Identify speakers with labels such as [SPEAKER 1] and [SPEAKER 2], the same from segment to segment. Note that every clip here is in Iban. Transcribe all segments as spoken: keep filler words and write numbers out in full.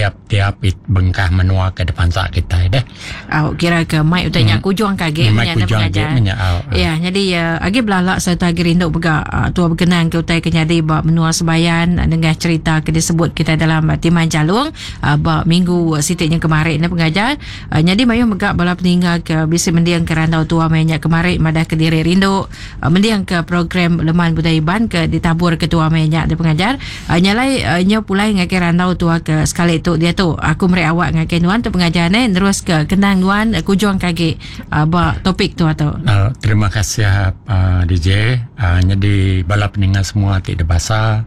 [SPEAKER 1] tiap-tiap bengkah menua ke dipansa kitai deh.
[SPEAKER 2] Au kira ke mai utai nya kujung ke agi
[SPEAKER 1] menya
[SPEAKER 2] nya pengajar.
[SPEAKER 1] Menya, au.
[SPEAKER 2] Ya, jadi uh, agi belala serta agi rindu mega uh, tua bekenang ke utai ke nyadi ba menua Sebayan uh, nengah cerita ke disebut kita dalam uh, Timang Jalung uh, ba minggu siti nya kemari ne pengajar. Uh, nyadi mayuh mega bala peninga ke bisi mending ke randau tua maya nya kemari madah ke diri rindu uh, mending ke program Leman Budaya Iban ke ditabur ke tua maya nya ne pengajar. Uh, nyalai uh, nya pulai ngagai randau tua ke sekali tu dia tu aku meri awak ngagai nuan tu pengajar ne terus ke kenang nuan uh, kujung ke agi uh, ba topik tua tu.
[SPEAKER 1] Uh, terima kasih uh, D J. Uh, jadi bala peninga semua ti dibasa.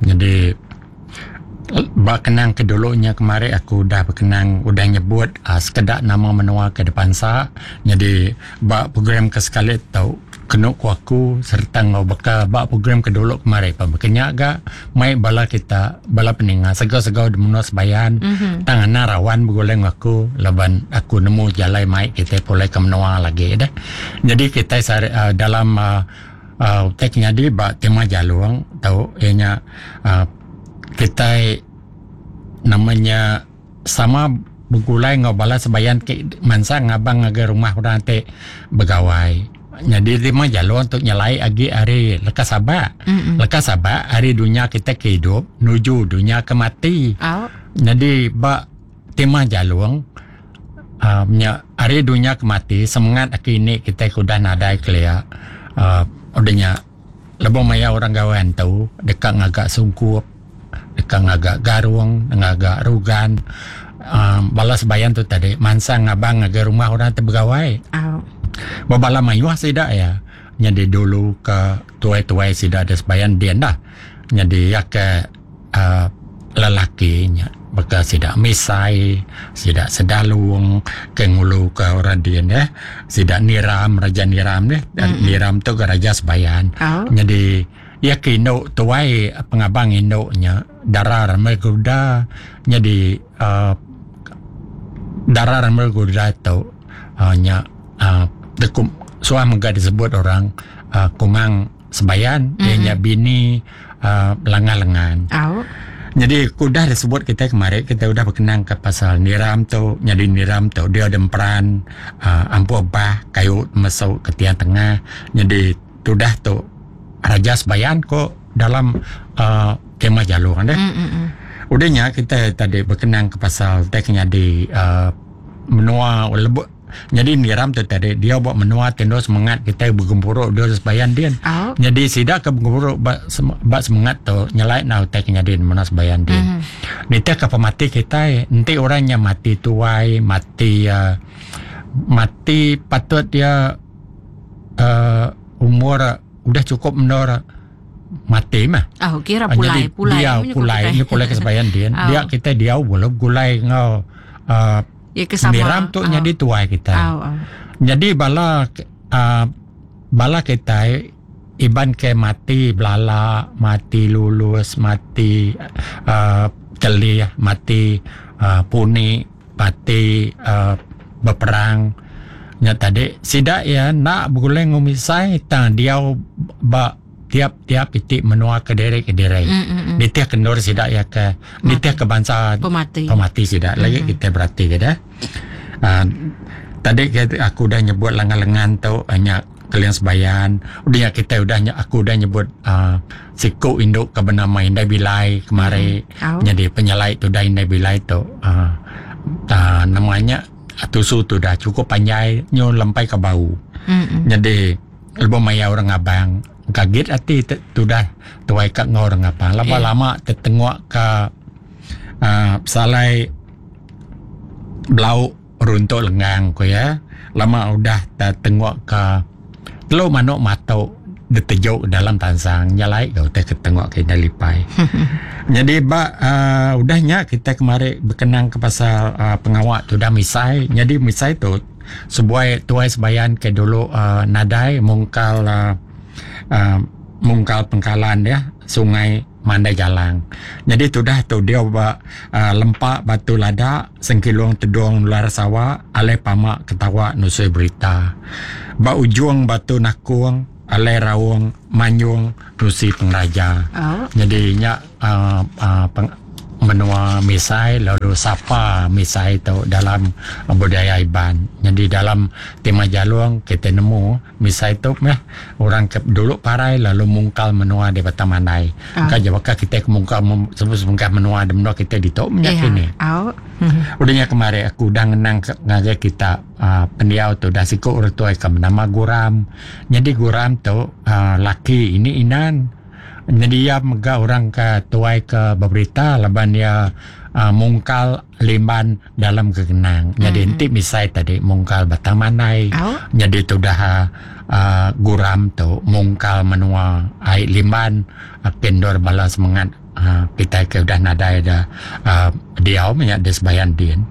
[SPEAKER 1] Jadi ba kenang ke dulunya kemari aku udah berkenang udah nyebut uh, sekedak nama menua ke depansa. Jadi ba program ke sekali tu kenu ku aku serta ngau beka ba program ke dulu kemari pa bekenya ga mai bala kita bala peninga segau-segau di menua Sebayan mm-hmm. tang ana rawan begulai aku laban aku nemu jalai mai kita pulai ke menua lagi dah. Jadi kita uh, dalam uh, uh, tek nyadi ba tema jalung tau ianya uh, kita namanya sama begulai ngau bala Sebayan ke mansa ngabang ngagai rumah orang te begawai. Jadi lima jalur untuk nyelai agi hari lekas sabak. Mm-hmm. Lekas sabak hari dunia kita ke hidup nuju dunia ke mati.
[SPEAKER 2] Oh.
[SPEAKER 1] Jadi ba tema jalur uh, nya hari dunia ke mati semangat aki ini kita udah nadai kelia. Uh, udahnya lebuh maya orang gawan tu dekat ngagak sungkup, dekat ngagak garung, ngagak rugan. Um, bala Sebayan tu tadi mansa ngabang ngagai rumah orang te begawai.
[SPEAKER 2] Oh.
[SPEAKER 1] Bala mayuh sida ya. Jadi dulu ke tuai-tuai sida ada Sebayan dia dah. Jadi ya ke uh, lelaki nya baka sida misai, sida sedalung ke ngulu ke orang dia ya. Sida niram, raja niram ni. Mm-hmm. Niram tu ke raja Sebayan.
[SPEAKER 2] Oh.
[SPEAKER 1] Jadi ya ke induk tuai pengabang induknya darah ramai kuda. Jadi uh, darah ramai kuda tu uh, nya uh, dekum suah mega disebut orang uh, kumang Sebayan mm-hmm. dia nya bini uh, lengan-lengan.
[SPEAKER 2] Oh.
[SPEAKER 1] Jadi udah disebut kita kemarin kita udah berkenang ke pasal niram tu. Jadi niram tu dia ada peran uh, ampu bah kayu masuk ke tiang tengah. Jadi tudah tu raja Sebayan kok dalam uh, tema jalur kan deh.
[SPEAKER 2] Mm-hmm.
[SPEAKER 1] Udahnya kita tadi berkenang ke pasal teknya di uh, menua lebut. Jadi niram tu tadi dia buat menua tendo semangat kita bergempuruk dia Sebayan dia.
[SPEAKER 2] Oh.
[SPEAKER 1] Jadi sida ke bergempuruk bak sem- semangat tu nyelai nau tek nyadi menua Sebayan dia.
[SPEAKER 2] Mm-hmm.
[SPEAKER 1] Nita ke pemati kita nanti orangnya mati tuai, mati uh, mati patut dia uh, umur udah cukup menor mati mah.
[SPEAKER 2] Oh, kira pulai,
[SPEAKER 1] jadi
[SPEAKER 2] pulai.
[SPEAKER 1] Dia pulai, ni pulai ke Sebayan dia.
[SPEAKER 2] Oh.
[SPEAKER 1] Dia kita dia boleh gulai ngau uh,
[SPEAKER 2] ya, kesama.
[SPEAKER 1] Niram tu
[SPEAKER 2] oh.
[SPEAKER 1] jadi tuai kita.
[SPEAKER 2] Oh, oh.
[SPEAKER 1] Jadi bala uh, bala kita iban ke mati belala, mati lulus, mati uh, telih, mati uh, puni, mati uh, berperang. Nya tadi sida ya nak bergulai ngumisai tang dia ba tiap-tiap titik menua ke derek ke derek.
[SPEAKER 2] Mm, mm, mm.
[SPEAKER 1] Nitih kendor sida ya ke nitih ke bangsa
[SPEAKER 2] pemati.
[SPEAKER 1] Pemati sida. Lagi
[SPEAKER 2] mm-hmm.
[SPEAKER 1] kita berarti ke dah. Uh, tadi kita, aku udah nyebut lengan-lengan tu hanya kalian Sebayan. Udah kita udah aku udah nyebut uh, siku induk ke bernama Indai Bilai kemari.
[SPEAKER 2] Mm. Oh.
[SPEAKER 1] Jadi penyelai tu dah Indai Bilai tu uh, uh, namanya tusu tu dah cukup panjai nyo lempai ke bau.
[SPEAKER 2] Mm-hmm.
[SPEAKER 1] Jadi lebih maya orang abang kaget hati tu dah tuai kat ngau orang apa lama-lama
[SPEAKER 2] yeah.
[SPEAKER 1] tertengok ke uh, salai belau runtuk lengang ko ya. Lama udah tertengok ke telur manuk matuk ditejuk dalam tansang nyalai kau teh ketengok ke lipai. Jadi ba uh, udahnya kita kemari berkenang ke pasal uh, pengawak tu dah misai. Jadi misai tu sebuah tuai Sebayan ke dulu uh, nadai mungkal uh, Uh, mungkal pengkalan ya sungai Mandai Jalang. Jadi tu dah tu dia ba uh, lempak batu lada sengkilung tedung luar sawah alai pamak ketawa nusui berita. Ba ujung batu nakung alai raung manyung nusi pengraja.
[SPEAKER 2] Oh.
[SPEAKER 1] Jadi nya uh, uh, peng, menua Misai lalu sapa Misai tu dalam budaya Iban. Jadi dalam tema jalung kita nemu Misai tu meh orang ke dulu parai lalu mungkal menua di Batang Mandai.
[SPEAKER 2] Ah.
[SPEAKER 1] Ka jawaka kita ke mungkal sebut-sebut menua di menua kita di tu
[SPEAKER 2] Ya.
[SPEAKER 1] kini.
[SPEAKER 2] Au.
[SPEAKER 1] Udahnya kemarin aku udah ngenang ke, ngagai kita uh, pendiau tu dah siku orang tua ke nama Guram. Jadi Guram tu uh, laki ini Inan. Jadi dia mega orang ke tuai ke berberita laban dia uh, mungkal limban dalam kegenang. Jadi mm-hmm. enti Misai tadi mungkal Batang Mandai.
[SPEAKER 2] Au.
[SPEAKER 1] Jadi tu dah uh, Guram tu mungkal menua ai limban uh, kendor bala semangat uh, kita ke udah nadai dah uh, diau banyak di sebayan din.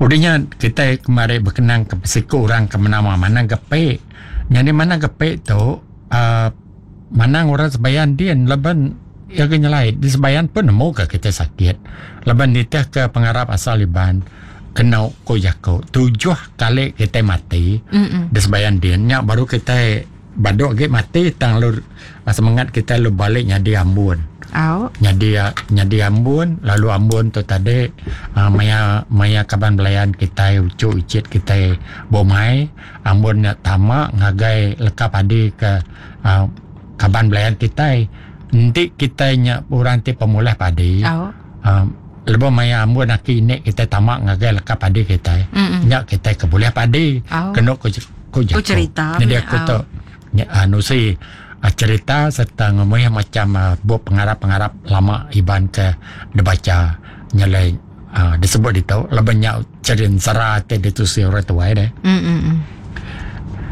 [SPEAKER 1] Udahnya kita kemarin berkenang ke siku orang ke menama Manang Gepek. Jadi Manang Gepek tu uh, manang orang sebayan din laban ya ke nyelai di sebayan pun nemu ke kita sakit. Laban nitih ke pengarap asal Iban kena ko jako tujuh kali kita mati
[SPEAKER 2] Mm-mm.
[SPEAKER 1] di sebayan din nya baru kita badok ge mati tang lu semangat kita lu balik nyadi ambun.
[SPEAKER 2] Au.
[SPEAKER 1] Nyadi nyadi ambun lalu ambun tu tadi uh, maya maya kaban belayan kita ucu icit kita bomai ambun nya tama ngagai leka padi ke uh, kaban belayan kita nanti kita nya orang ti pemulah padi.
[SPEAKER 2] Au.
[SPEAKER 1] Uh, lebuh maya ambun aki ini kita tamak ngagai leka padi kita.
[SPEAKER 2] Mm-mm.
[SPEAKER 1] Nya kita ke boleh padi.
[SPEAKER 2] Au.
[SPEAKER 1] Kena ko ko
[SPEAKER 2] Ko cerita.
[SPEAKER 1] Jadi aku
[SPEAKER 2] Au.
[SPEAKER 1] tu nya anu si cerita serta ngemuih macam uh, bup pengarap-pengarap lama Iban ke dibaca nyalai uh, disebut itu lebih banyak cerita te ditusi orang tua deh.
[SPEAKER 2] Mm-mm.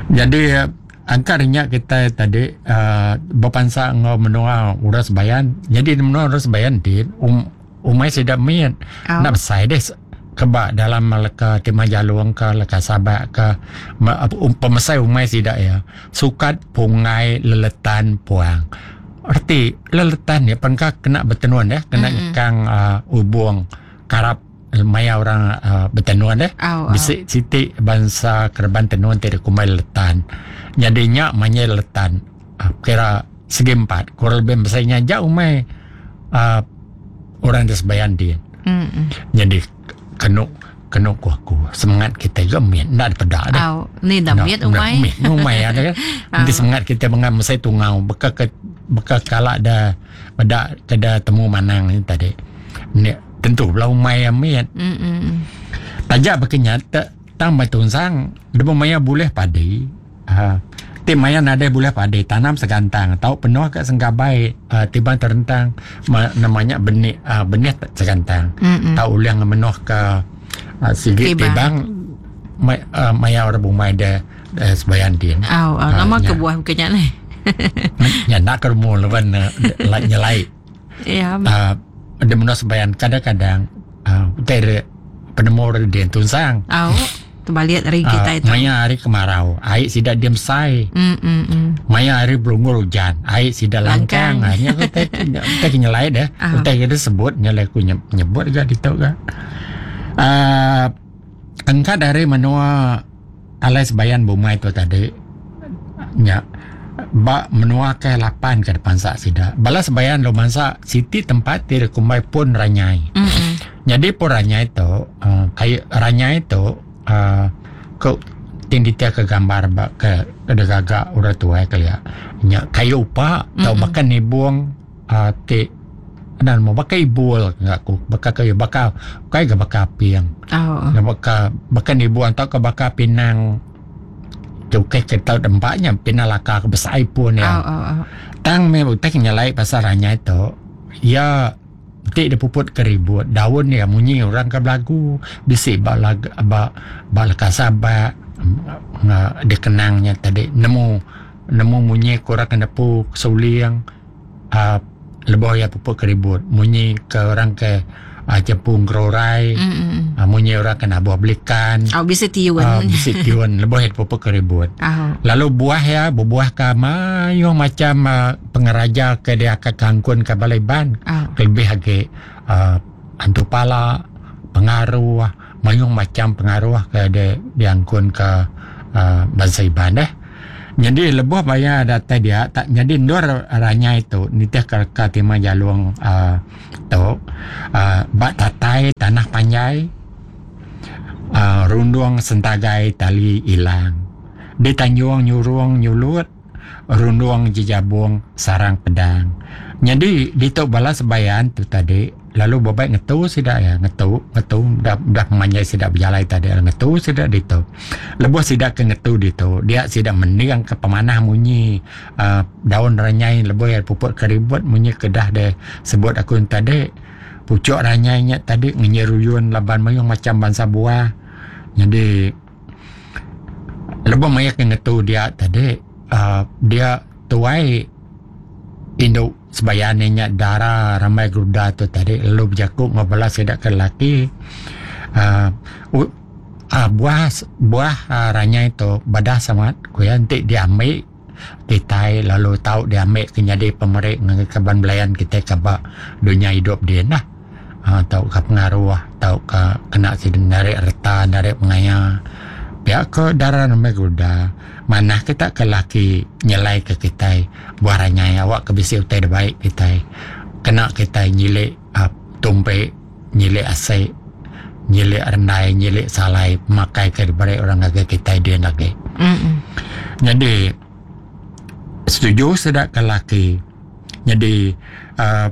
[SPEAKER 1] Jadi uh, angkarnya kita tadi uh, berpansa ngau menua uras bayan. Jadi menua uras bayan di um, umai sedap miat.
[SPEAKER 2] Oh.
[SPEAKER 1] Nak besai deh kebak dalam leka timah jalung ke leka sabak ke ma, um, pemesai umai sidak ya. Sukat pungai leletan puang. Erti leletan ya pengka kena bertenuan deh, kena
[SPEAKER 2] Mm-mm.
[SPEAKER 1] nyekang uh, ubung karap maya orang uh, bertenuan deh.
[SPEAKER 2] Au, au.
[SPEAKER 1] Bisik siti bangsa kerban tenun tidak kumai letan. Jadinya manya letan. Uh, kira segi empat. Kurang lebih besarnya jauh umai uh, orang tersebayan dia.
[SPEAKER 2] Mm-mm.
[SPEAKER 1] Jadi kena kena ku aku semangat kita juga miat nak pedak dah.
[SPEAKER 2] Au, ni dah miat umai.
[SPEAKER 1] Miat umai ada kan. Nanti semangat kita mengam saya tungau beka ke beka kalak dah pedak keda temu manang ni tadi. Ni tentu belah umai yang miat.
[SPEAKER 2] Mm-mm.
[SPEAKER 1] Tajak berkenyat tak tambah tunsang debu maya boleh padi. Ha, ti maya nadai boleh padi tanam segantang tau penuh kat sengkabai uh, tiba terentang ma, namanya benih uh, benih segantang.
[SPEAKER 2] Mm-mm.
[SPEAKER 1] Tau ulang menuh ke uh, sigit
[SPEAKER 2] Tibang.
[SPEAKER 1] tibang ma, uh, maya orang bumai da uh, sebayan din.
[SPEAKER 2] Au, au,
[SPEAKER 1] Ah,
[SPEAKER 2] nama
[SPEAKER 1] nya.
[SPEAKER 2] ke buah bukannya ni.
[SPEAKER 1] Nya nak ke rumah leban uh, nyelai.
[SPEAKER 2] Ya.
[SPEAKER 1] Uh, ada menuh sebayan kadang-kadang uh, utai penemu orang dia tunsang.
[SPEAKER 2] Au, terbalik dari kita
[SPEAKER 1] Uh,
[SPEAKER 2] itu.
[SPEAKER 1] maya hari kemarau, air sidak diam sai.
[SPEAKER 2] Mm mm mm.
[SPEAKER 1] Maya hari belungur hujan, air sidak
[SPEAKER 2] Langkang.
[SPEAKER 1] langkang. Akhirnya aku tak tak nyelai dah.
[SPEAKER 2] Ah.
[SPEAKER 1] Utai kita sebut nyelai aku nyebut juga di tu ke. Uh, engkau dari menua alai sebayan bumai tu tadi nya ba menua ke lapan ke depan sak sidak. Bala sebayan lo mangsa siti tempat ti kumai pun ranyai.
[SPEAKER 2] Mm mm.
[SPEAKER 1] Jadi pun ranyai tu uh, kayu ranyai tu uh, ke tinditia ke gambar ba ke ke gagak orang tua ke ya. Nya kayu upa atau
[SPEAKER 2] Mm-mm.
[SPEAKER 1] bahkan nibung uh, ti dan mau pakai ibul enggak ku bakal kayu bakal kai ke bakal piang.
[SPEAKER 2] Au.
[SPEAKER 1] Nah, bakal bahkan ibu atau ke bakal pinang cukai ke tau tempatnya pinang laka ke besar pun ya.
[SPEAKER 2] Au au au.
[SPEAKER 1] Tang me utai nyelai pasal ranya itu ya tik dia puput ke ribut daun ya munyi orang ke belagu bisik ba lag ba ba leka sabak nga dikenangnya tadi nemu nemu munyi kurang kena pu suliang uh, leboh ya puput ke ribut munyi ke orang ke uh, jepung kerorai
[SPEAKER 2] Mm mm.
[SPEAKER 1] uh, munyi orang kena buah belikan
[SPEAKER 2] Au bisa tiuan.
[SPEAKER 1] uh, bisik tiun leboh ya puput ke ribut.
[SPEAKER 2] Au.
[SPEAKER 1] Lalu buah ya, berbuah ke mayuh macam uh, pengeraja ke dia ke kangkun ke balai ban.
[SPEAKER 2] Au.
[SPEAKER 1] Lebih lagi uh, hantu pala, pengaruh, mayuh macam pengaruh ke dia diangkun ke uh, bangsa Iban deh. Jadi lebuh bayar datai dia tak jadi ndur ranyai tu nitih ke reka Timang Jalung uh, tu uh, bak tatai tanah panjai uh, rundung sentagai tali ilang di Tanjung nyurung nyulut rundung jejabung sarang pedang. Jadi ditu bala sebayan tu tadi lalu bebaik ngetu sida ya ngetu ngetu dah dah memanjai sida berjalai tadi ngetu sida ditu. Lebuh sida ke ngetu ditu dia sida mending ke pemanah munyi uh, daun ranyai lebuh ya puput keribut munyi kedah de sebut aku tadi pucuk ranyai nya tadi ngenyeruyun laban mayung macam bangsa buah. Jadi lebuh maya ke ngetu dia tadi uh, dia tuai induk sebayan nya dara ramai geruda tu tadi lalu berjakuk ngobala sida ke lelaki uh, uh, buah buah uh, ranyai tu badah sangat kuya nanti diambil kitai lalu tau diambil ke jadi pemerik ngagai kaban belayan kita ke ba dunia hidup dia nah uh, tau ke pengaruh tau ke kena sida narik reta narik pengaya pihak ke dara ramai geruda mana kita ke laki nyelai ke kitai buah ranyai awak ke bisi utai baik kitai kena kitai nyilik uh, tumpek nyilik asai nyilik rendai nyilik salai makai ke diberi orang ngagai kitai dia lagi.
[SPEAKER 2] Mm-mm.
[SPEAKER 1] Jadi setuju sedak ke laki. Jadi uh,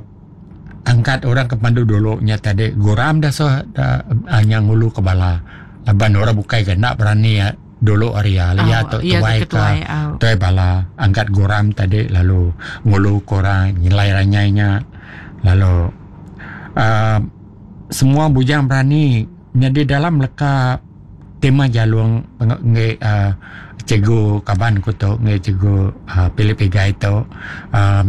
[SPEAKER 1] angkat orang ke pandu dulu nya tadi guram dah so dah, uh, yang ngulu ke bala laban orang bukai ke nak berani ya, dulu area oh, ya tu tuai ke
[SPEAKER 2] oh.
[SPEAKER 1] Tuai bala angkat guram tadi lalu ngulu korang nyelai ranyainya lalu uh, semua bujang berani jadi dalam leka tema jalung nge uh, cikgu kaban ku tu nge cikgu uh, Philip Igai tu uh,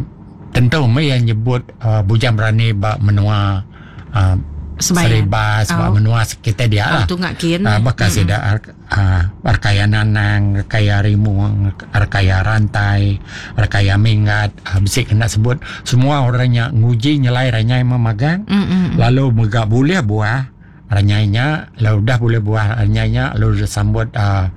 [SPEAKER 1] tentu mai yang nyebut uh, bujang berani ba menua uh, Seribas oh. Ba menua kita dia lah.
[SPEAKER 2] Oh, tungak kin.
[SPEAKER 1] Uh, bakal mm-hmm. sida uh, arkaya nanang, arkaya rimuang, arkaya rantai, arkaya minggat, uh, bisi kena sebut semua orangnya nguji nyelai ranyai memagang.
[SPEAKER 2] Mm-hmm.
[SPEAKER 1] Lalu mega boleh buah ranyainya, lalu dah boleh buah ranyainya lalu disambut uh,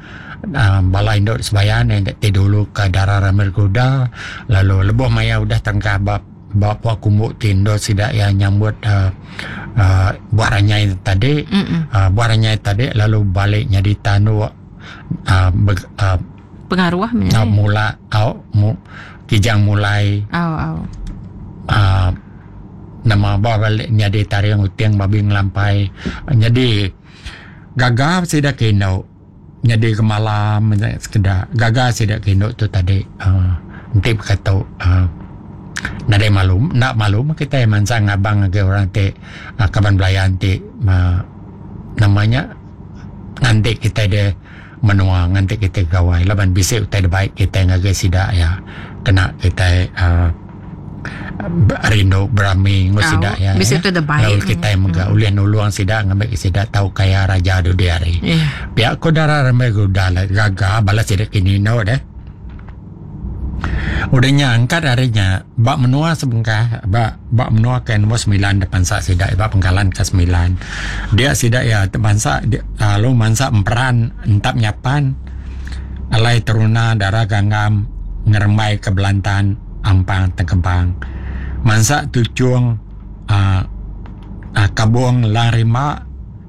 [SPEAKER 1] uh, bala induk sebayan yang ti dulu ke darah ramai kuda, lalu lebuh maya udah tengkah bab bapa kumbuk tindo sida yang nyambut uh, uh, buah ranyai tadi uh, buah ranyai tadi lalu balik jadi tanduk uh, ber, uh,
[SPEAKER 2] pengaruh
[SPEAKER 1] uh, mula au mu, kijang mulai
[SPEAKER 2] au au
[SPEAKER 1] uh, nama balik jadi tariang uting babi ngelampai jadi gagah sida kino jadi kemalam sekedar gagah sida kino tu tadi uh, nanti berkata uh, nadai malu nak malu kita yang mansang abang ke orang te uh, kaban belayan te uh, namanya nganti kita de menua nganti kita gawai laban bisik utai de baik kita ngagai sida ya kena kita uh, rindu berami ngu sida ya
[SPEAKER 2] bisik utai de baik
[SPEAKER 1] lalu kita yang mega ulih nulung sida ngambil sida tahu kaya raja du dia hari
[SPEAKER 2] yeah.
[SPEAKER 1] Pihak ko darah ramai guda gagah balas sida kini no deh. Udahnya angkat harinya bak menua sebengkah bak bak menua ke nombor sembilan depan sak sidak bak pengkalan ke sembilan dia sidak ya bangsa lalu mansa emperan entap nyapan alai teruna darah ganggam ngerembai ke Belantan Ampang Tengkebang mansa tucung uh, uh, kabung larima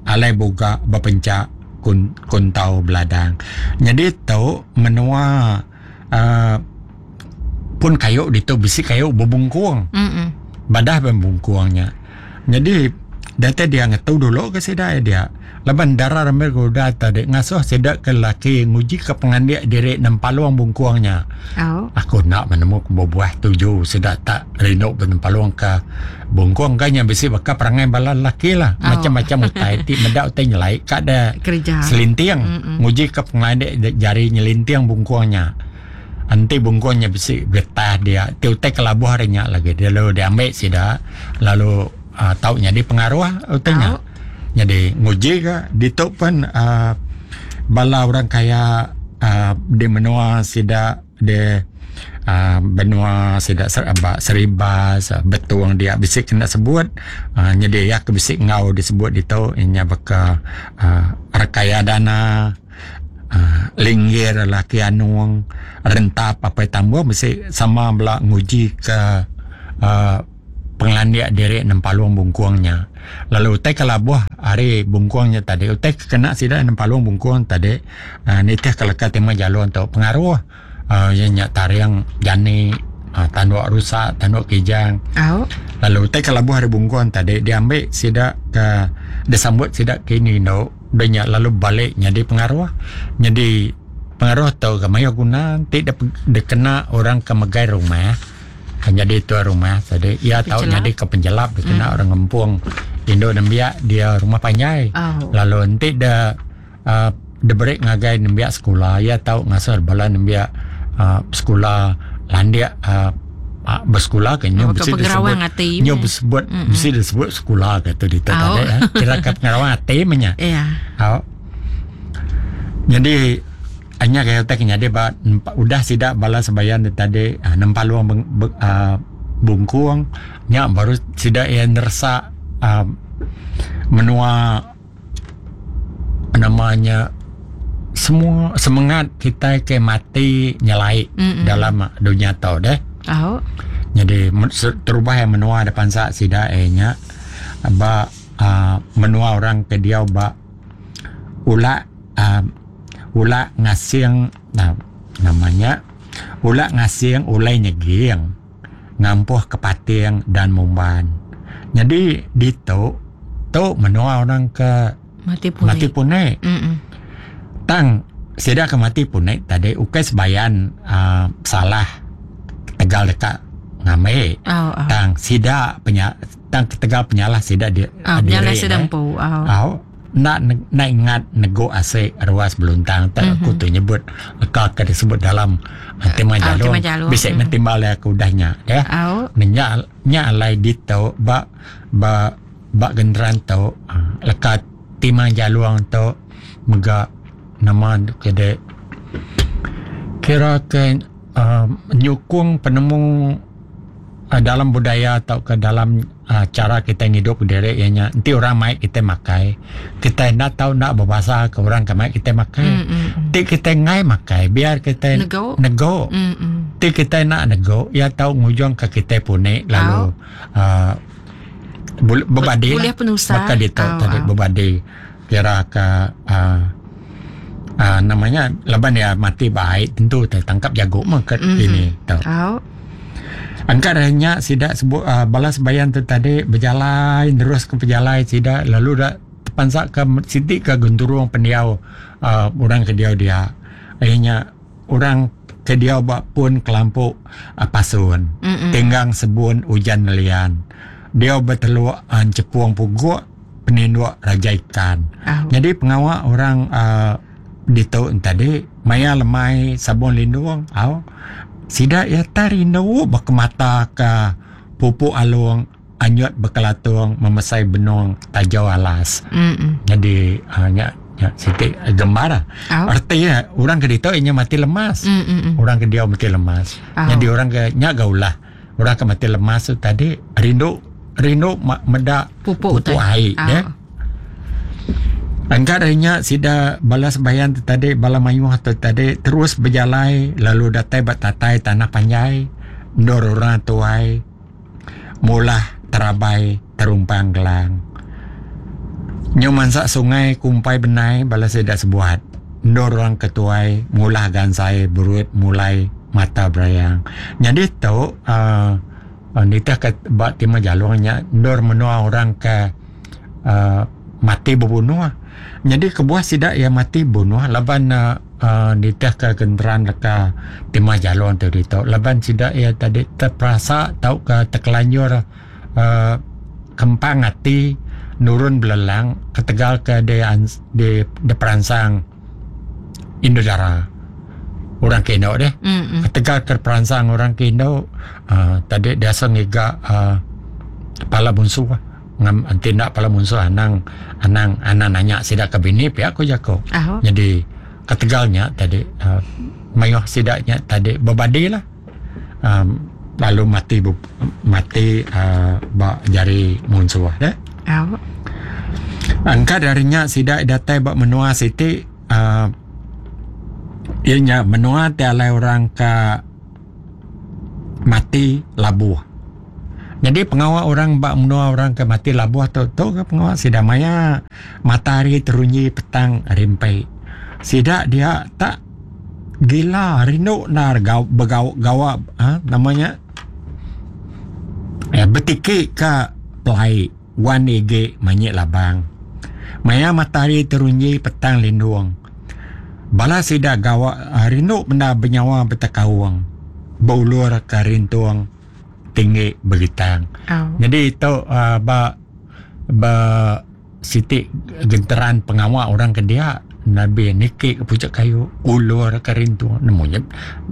[SPEAKER 1] alai buka berpencak kun kuntau beladang. Jadi tu menua uh, pun kayu ditu bisi kayu berbungkuang.
[SPEAKER 2] Mm-mm.
[SPEAKER 1] Badah berbungkuangnya. Jadi data dia ngetu dulu ke sida dia. Laban darah ramai goda tadi ngasuh sida ke laki nguji ke pengandik diri nempaluang bungkuangnya.
[SPEAKER 2] Oh.
[SPEAKER 1] Aku nak menemu buah tujuh sida tak rindu nempaluang ke bungkuang kan yang bisi bakal perangai bala laki lah.
[SPEAKER 2] Oh.
[SPEAKER 1] Macam-macam utai ti medak utai nyelai kat ada
[SPEAKER 2] kerja.
[SPEAKER 1] Selintiang.
[SPEAKER 2] Mm-mm.
[SPEAKER 1] Nguji ke pengandik jari nyelintiang bungkuangnya. Anti bungkuangnya bisi getah dia tiutai kelabuh harinya lagi dia lalu dia ambil sida lalu uh, taunya di pengaruh utainya.
[SPEAKER 2] Oh.
[SPEAKER 1] Jadi nguji ke ditu pun uh, bala orang kaya uh, di menua sida di uh, benua sida serabak seribas uh, betuang dia bisik kena sebut uh, jadi ya ke bisik ngau disebut ditu inya baka uh, rekaya dana uh, Linggir laki Anung, Rentap apai Tambung mesti sama bela nguji ke uh, pengelandik diri nempalung bungkuangnya. Lalu utai kelabuh hari bungkuangnya tadi, utai kena sida nempalung bungkuang tadi, uh, nitih keleka tema jalur untuk pengaruh uh, yang nyak tariang jani, uh, tanduk rusak, tanduk kijang.
[SPEAKER 2] Oh.
[SPEAKER 1] Lalu utai kelabuh hari bungkuang tadi diambil sida ke disambut sida kini no, banyak lalu balik jadi pengaruh. Jadi pengaruh tau ke mayo guna ti dikena orang ke megai rumah. Jadi tuan rumah tadi ia tahu jadi ke penjelap dikena mm. orang ngempung induk nembiak dia rumah panjai.
[SPEAKER 2] Oh.
[SPEAKER 1] Lalu nanti dia uh, diberi ngagai nembiak sekolah, ia tahu ngasar bala nembiak uh, sekolah landiak uh, uh, bersekolah ke nyu
[SPEAKER 2] oh,
[SPEAKER 1] mesti disebut nyu disebut mesti disebut sekolah ke tu di
[SPEAKER 2] Oh.
[SPEAKER 1] tadi eh. Kira ke pengerawang hati menya.
[SPEAKER 2] Iya.
[SPEAKER 1] Oh. Jadi hanya kaya tak jadi ba udah sidak bala sebayan tadi uh, nempalung beng, be, uh, bungkuang nya baru sidak yang nersak uh, menua namanya semua semangat kita ke mati nyelai
[SPEAKER 2] Mm-mm.
[SPEAKER 1] dalam dunia tau deh.
[SPEAKER 2] Oh.
[SPEAKER 1] Jadi terubah yang menua depan sak sidak eh nya ba uh, menua orang ke dia ba ulak uh, ulak ngasing nah, namanya ulak ngasing ulai nyeging ngampuh kepating dan mumban. Jadi di tu tu menua orang ke
[SPEAKER 2] mati punai.
[SPEAKER 1] Mati punai.
[SPEAKER 2] Mm-mm.
[SPEAKER 1] Tang sida ke mati punai tadi ukai sebayan uh, salah tegal dekat ngamai.
[SPEAKER 2] Oh, oh.
[SPEAKER 1] Tang sida penya tang tegal penyalah sida di
[SPEAKER 2] oh, penyalah sida empu. Oh.
[SPEAKER 1] Oh. Nak nak ingat nego asik ruas beluntang tak mm-hmm. aku tu nyebut leka ke disebut dalam uh, tema jalur bisa mm-hmm. mentimbal aku udahnya ya
[SPEAKER 2] oh.
[SPEAKER 1] nya nya alai dito ba ba ba genderan tu uh, leka timang jaluang tu mega nama kede kira ke uh, nyukung penemu uh, dalam budaya atau ke dalam uh, cara kita hidup diri ianya nanti orang mai kita makai kita nak tahu nak berbahasa ke orang ke mai kita makai
[SPEAKER 2] mm, mm,
[SPEAKER 1] nanti kita ngai makai biar kita
[SPEAKER 2] nego
[SPEAKER 1] nego
[SPEAKER 2] mm, mm.
[SPEAKER 1] Nanti kita nak nego ya tahu ngujung ke kita punik lalu
[SPEAKER 2] oh.
[SPEAKER 1] uh, berbadi
[SPEAKER 2] boleh penusah
[SPEAKER 1] maka dia tahu
[SPEAKER 2] oh,
[SPEAKER 1] tadi
[SPEAKER 2] oh.
[SPEAKER 1] berbadi kira ke uh, uh, namanya laban dia mati baik tentu tertangkap jago mah ke
[SPEAKER 2] mm-hmm.
[SPEAKER 1] ini tahu
[SPEAKER 2] oh.
[SPEAKER 1] Angkat hanya sidak sebut uh, balas bayan tu tadi berjalan terus ke berjalan sidak lalu dah terpansak ke sitik ke genturung pendiau uh, orang ke dia dia akhirnya orang ke dia buat pun kelampuk uh, pasun
[SPEAKER 2] Mm-mm.
[SPEAKER 1] tinggang sebun hujan nelian dia berteluk uh, cepung puguk peninduk raja ikan.
[SPEAKER 2] Oh.
[SPEAKER 1] Jadi pengawak orang uh, di tu tadi maya lemai sabun lindung au sidak ya tarindu berkemata ke pupuk alung anyut berkelatung memesai benung tajau alas.
[SPEAKER 2] Mm-mm.
[SPEAKER 1] Jadi uh, nya nya sitik gembar lah.
[SPEAKER 2] Oh.
[SPEAKER 1] Artinya orang ke ditu inya mati lemas.
[SPEAKER 2] Mm-mm.
[SPEAKER 1] Orang ke dia mati lemas.
[SPEAKER 2] Oh.
[SPEAKER 1] Jadi orang ke nya gaulah. Orang ke mati lemas tu tadi rindu rindu medak
[SPEAKER 2] pupuk,
[SPEAKER 1] pupuk air
[SPEAKER 2] oh.
[SPEAKER 1] ya. Angkat hanya sida balas bayan tu tadi bala mayuh tu tadi terus berjalai lalu datai batatai tanah panjai ndor orang tuai mulah terabai terumpang gelang nyu mansak sungai kumpai benai bala sida sebuat ndor orang ketuai mulah gansai berut mulai mata berayang. Jadi tu uh, uh, nitah ke bak timah jalurnya ndor menua orang ke uh, mati berbunuh. Jadi kebuah sidak yang mati bunuh laban uh, uh, nitah ke genteran leka timah jalur tu ditu laban sidak ya tadi terperasa tau ke terkelanjur uh, kempang hati nurun belelang ketegal ke de de, de peransang Indodara orang kendo deh
[SPEAKER 2] mm-hmm.
[SPEAKER 1] ketegal ke peransang orang kendo uh, tadi biasa ngiga uh, kepala bunsu ngam tindak pala munsuh anang anang anang nanya sidak ke bini pihak aku jako.
[SPEAKER 2] Oh.
[SPEAKER 1] Jadi ketegalnya tadi uh, mayuh sidaknya tadi berbadi lah. Um, lalu mati bu, mati uh, bak jari munsuh deh.
[SPEAKER 2] Oh.
[SPEAKER 1] Angkat darinya sidak datai bak menua siti uh, Ianya menua ti alai orang ke mati labuh. Jadi pengawa orang ba menua orang ke mati labuh tu tu ke pengawa sida maya matahari terunyi petang rimpai. Sida dia tak gila rindu nar gau begau gawa ha, namanya eh, betiki ke pelai wan ige manyik labang. Maya matahari terunyi petang lindung. Bala sida gawa rindu benda benyawa betekaung. Beulur ke rintung tinggi beritang.
[SPEAKER 2] Oh.
[SPEAKER 1] Jadi itu uh, ba ba siti genteran pengawa orang ke dia Nabi niki ke pucuk kayu ulur ke rintung nemunya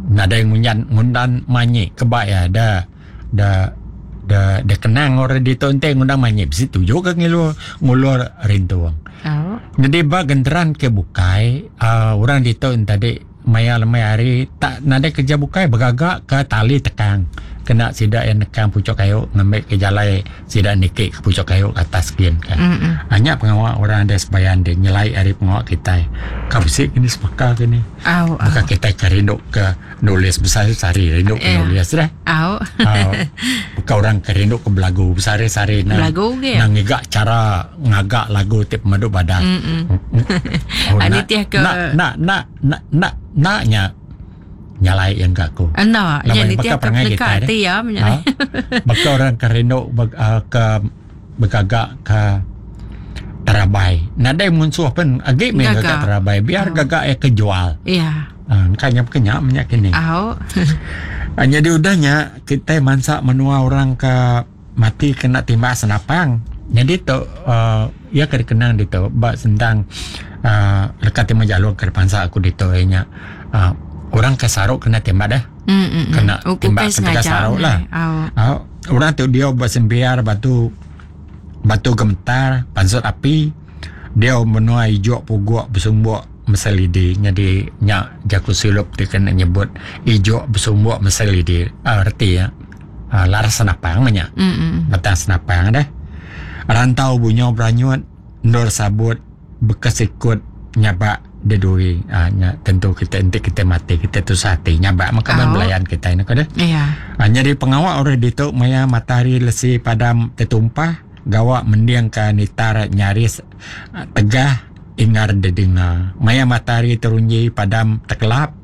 [SPEAKER 1] nadai ngunyan ngundan manyi kebak ya da da da da kenang orang di tonte ngundang manyi bisi tuju ke ngilur ngulur rintung.
[SPEAKER 2] Oh.
[SPEAKER 1] Jadi ba genteran ke bukai uh, orang di ton tadi maya lemai hari tak nadai kerja bukai bergagak ke tali tekang kena sida yang nekang pucuk kayu ngambil ke jalai sida niki ke pucuk kayu ke atas skin kan.
[SPEAKER 2] Mm-mm.
[SPEAKER 1] Hanya pengawa orang ada sebayan dia nyelai hari pengawa kita. Kau bisik kini sepaka kini.
[SPEAKER 2] Au.
[SPEAKER 1] Maka kita ke rindu ke nulis besar-sari rindu ke
[SPEAKER 2] Ya.
[SPEAKER 1] nulis dah.
[SPEAKER 2] Au.
[SPEAKER 1] Uh, bukan orang ke rindu ke belagu besar-sari na
[SPEAKER 2] Belagu ke?
[SPEAKER 1] na ngigak cara ngagak lagu tip meduk badan.
[SPEAKER 2] Mm-mm.
[SPEAKER 1] Oh,
[SPEAKER 2] Ah,
[SPEAKER 1] nak,
[SPEAKER 2] nitih ke-
[SPEAKER 1] nak nak nak nak nak naknya nyalai yang kat aku.
[SPEAKER 2] Enda,
[SPEAKER 1] Lama
[SPEAKER 2] nya
[SPEAKER 1] yang
[SPEAKER 2] nitih
[SPEAKER 1] bakal
[SPEAKER 2] ke
[SPEAKER 1] perangai
[SPEAKER 2] peneka
[SPEAKER 1] kita,
[SPEAKER 2] ati ya
[SPEAKER 1] Ha?
[SPEAKER 2] nya.
[SPEAKER 1] Bakal orang ke rindu beg, uh, ke bergagak ke terabai. Nadai munsuh pun agi main
[SPEAKER 2] Gagak.
[SPEAKER 1] gagak terabai. Biar
[SPEAKER 2] Oh.
[SPEAKER 1] gagak ya kejual.
[SPEAKER 2] Ya.
[SPEAKER 1] Ha, kanya kenyak minyak kini.
[SPEAKER 2] Au.
[SPEAKER 1] Ha, jadi udahnya kita mansak menua orang ke mati kena timbak senapang. Jadi tu uh, ya kena kenang di tu bak sentang uh, lekat timah jalur ke depan aku di tu nya uh, orang ke saruk kena tembak dah.
[SPEAKER 2] Mm-mm.
[SPEAKER 1] Kena
[SPEAKER 2] Oh,
[SPEAKER 1] tembak
[SPEAKER 2] bukan
[SPEAKER 1] ketika
[SPEAKER 2] sengaja.
[SPEAKER 1] saruk lah.
[SPEAKER 2] Au.
[SPEAKER 1] Uh, orang tu dia buat sembiar batu batu gemetar pansut api dia menua ijuk puguk bersumbuk meselidi jadi nyak jaku silup dia kena nyebut ijuk bersumbuk meselidi uh, reti ya uh, laras senapang banyak
[SPEAKER 2] Mm-mm.
[SPEAKER 1] batang senapang dah rantau bunyo beranyut nur sabut bekas ikut nyabak dedui ah, nya, tentu kita nanti kita mati kita tusah hati nyabak maka
[SPEAKER 2] Oh.
[SPEAKER 1] oh. belayan kita ini kau dah
[SPEAKER 2] Ya.
[SPEAKER 1] Ha, jadi pengawak orang ditu maya matahari lesi padam tertumpah gawak mendiang ke nitar nyaris ah, tegah ingar dedengar maya matahari terunji padam terkelap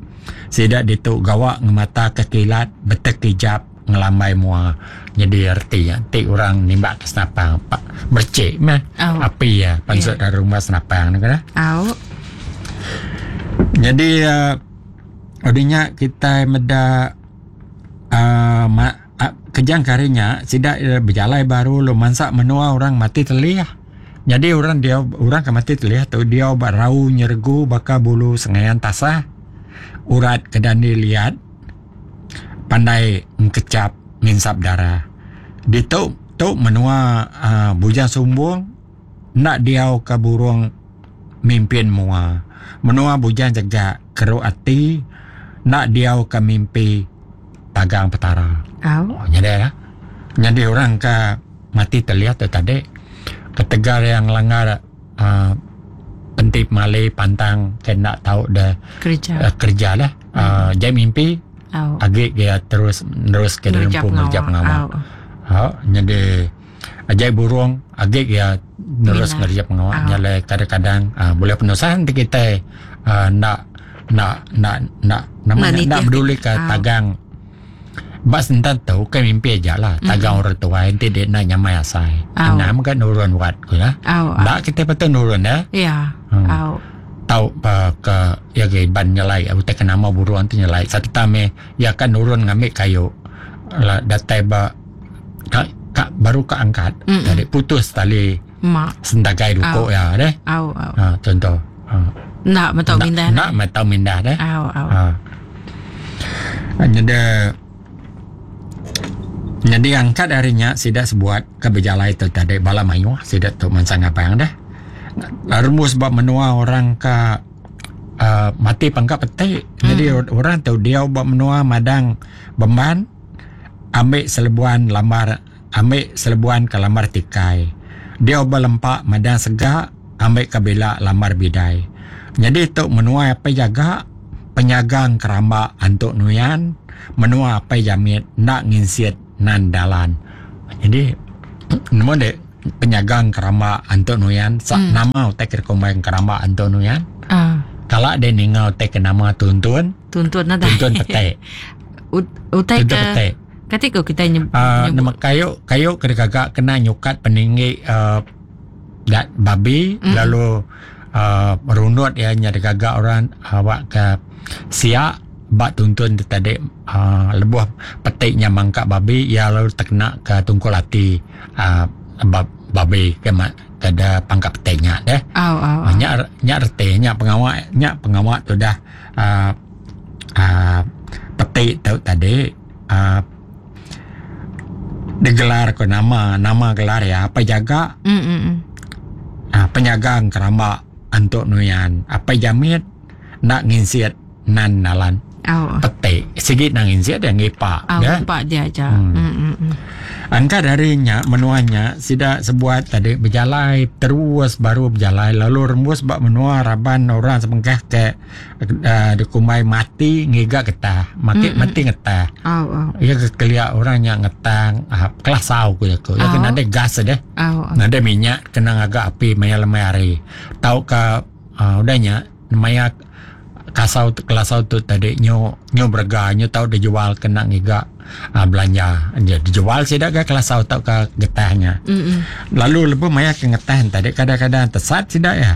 [SPEAKER 1] sidak ditu gawak ngemata kekilat betekijap ngelambai mua jadi erti ya ti orang nimbak ke senapang pak mercik mah
[SPEAKER 2] Oh.
[SPEAKER 1] api ya pansut dari rumah senapang ni kan
[SPEAKER 2] Au.
[SPEAKER 1] jadi uh, Odinya kita meda uh, ma, uh, kejang karinya sidak uh, berjalai baru lu mansak menua orang mati telih. Jadi orang dia orang ke mati telih tu dia obat rau nyergu baka bulu sengayan tasah urat kedani liat pandai mengkecap nginsap darah. Di tu tu menua uh, bujang sumbung nak diau ke burung mimpin mua. Menua bujang jegak keruk ati nak diau ke mimpi tagang petara.
[SPEAKER 2] Au.
[SPEAKER 1] Oh, nyadai lah. Nyadai orang ke mati terlihat tu tadi. Ketegar yang langgar uh, pentip malai pantang kena tahu dah
[SPEAKER 2] Kerja.
[SPEAKER 1] uh, kerja lah. Uh, jai mimpi
[SPEAKER 2] Au.
[SPEAKER 1] agak dia terus terus ke dalam
[SPEAKER 2] Ngerja
[SPEAKER 1] pun ngerja
[SPEAKER 2] pengawa.
[SPEAKER 1] pengawa.
[SPEAKER 2] Au.
[SPEAKER 1] Ha, nyadai ajai burung agak dia terus
[SPEAKER 2] Minat.
[SPEAKER 1] ngerja pengawa.
[SPEAKER 2] Ah.
[SPEAKER 1] Nyalai kadang-kadang uh, boleh penusan nanti kita uh, nak nak nak nak namanya
[SPEAKER 2] Nak
[SPEAKER 1] nak
[SPEAKER 2] nitih.
[SPEAKER 1] peduli ke
[SPEAKER 2] Ah.
[SPEAKER 1] tagang Bas entan tu kan mimpi aja lah tagang orang tua nanti dia nak nyamai asai.
[SPEAKER 2] Ah.
[SPEAKER 1] Nak kan nurun wat ku lah.
[SPEAKER 2] Au. Au.
[SPEAKER 1] Nak kita betul nurun dah.
[SPEAKER 2] Ya.
[SPEAKER 1] Hmm.
[SPEAKER 2] Au.
[SPEAKER 1] Tahu uh, ke ya ke ban nyelai aku tak nama buruan tu nyelai satu tame ya kan nurun ngambil kayu lah datai ba ka, ka, baru ke angkat
[SPEAKER 2] Mm-mm.
[SPEAKER 1] tadi putus tali
[SPEAKER 2] Mak.
[SPEAKER 1] sentagai duko ya deh
[SPEAKER 2] Au. Au.
[SPEAKER 1] ha, contoh ha.
[SPEAKER 2] Nak betul
[SPEAKER 1] nak,
[SPEAKER 2] mindah.
[SPEAKER 1] nak matau mindah deh
[SPEAKER 2] Au. Au.
[SPEAKER 1] ha. Hanya ada jadi angkat harinya sidak sebuat ke berjalai tu tadi bala mayu sidak tu mansang abang dah Rumus sebab menua orang ke uh, mati pangkat petik. Hmm. Jadi orang tu dia buat menua madang beman ambil selebuan lamar ambil selebuan ke lamar tikai. Dia berlempak madang segak ambil ke bila lamar bidai. Jadi tu menua apa jaga penyagang keramba antuk nuyan menua apai jamit nak nginsit nan dalan. Jadi nemu dek penyagang keramba antuk nuyan sa hmm. nama utai ke kumbai keramba antuk nuyan.
[SPEAKER 2] Ah.
[SPEAKER 1] Kalau dia ninga utai ke nama tuntun
[SPEAKER 2] tuntun nada.
[SPEAKER 1] Tuntun petai.
[SPEAKER 2] Utai
[SPEAKER 1] tuntun
[SPEAKER 2] ke
[SPEAKER 1] petai.
[SPEAKER 2] Kati ko kita nyebut
[SPEAKER 1] uh, nama kayu kayu kena gagak kena nyukat peninggi uh, dat babi
[SPEAKER 2] mm.
[SPEAKER 1] lalu uh, merunut ya nya gagak orang awak ke siak bak tuntun tu tadi uh, lebuh petiknya mangkak babi ya lalu terkena ke tungkul hati uh, bab, babi ke kada pangkat petiknya deh.
[SPEAKER 2] Oh, oh, oh.
[SPEAKER 1] Nyak nyak reti nyak pengawak nyak pengawak tu dah uh, uh, petik tu tadi uh, digelar ke nama nama gelar ya apa jaga
[SPEAKER 2] mm, mm, mm.
[SPEAKER 1] Uh, penyagang keramba antuk nuyan apa jamit nak nginsiat nan nalan.
[SPEAKER 2] Oh.
[SPEAKER 1] Petik sikit nang insiat dia ngipak
[SPEAKER 2] oh,
[SPEAKER 1] ya.
[SPEAKER 2] Ngipak dia aja.
[SPEAKER 1] Hmm.
[SPEAKER 2] Mm, mm, mm.
[SPEAKER 1] Angka darinya menuanya sida sebuat tadi berjalai terus baru berjalai lalu rembus bak menua raban orang sebengkah ke uh, dikumai mati ngiga getah mati
[SPEAKER 2] Mm, mm.
[SPEAKER 1] mati ngetah.
[SPEAKER 2] Oh, oh.
[SPEAKER 1] Ya kekelia orang yang ngetang ah, kelasau ku ya ku. Ya
[SPEAKER 2] Oh.
[SPEAKER 1] kena ada gas deh.
[SPEAKER 2] Oh, oh.
[SPEAKER 1] Ada minyak kena agak api maya lemai hari. Tau ke uh, udahnya maya kasau kelasau tu tadi nyo nyo berga nyo tau dijual kena ngiga uh, belanja dia dijual sida ke kelasau tau ke getahnya.
[SPEAKER 2] Mm, mm.
[SPEAKER 1] Lalu lebih maya ke ngetah tadi kadang-kadang tesat sida ya.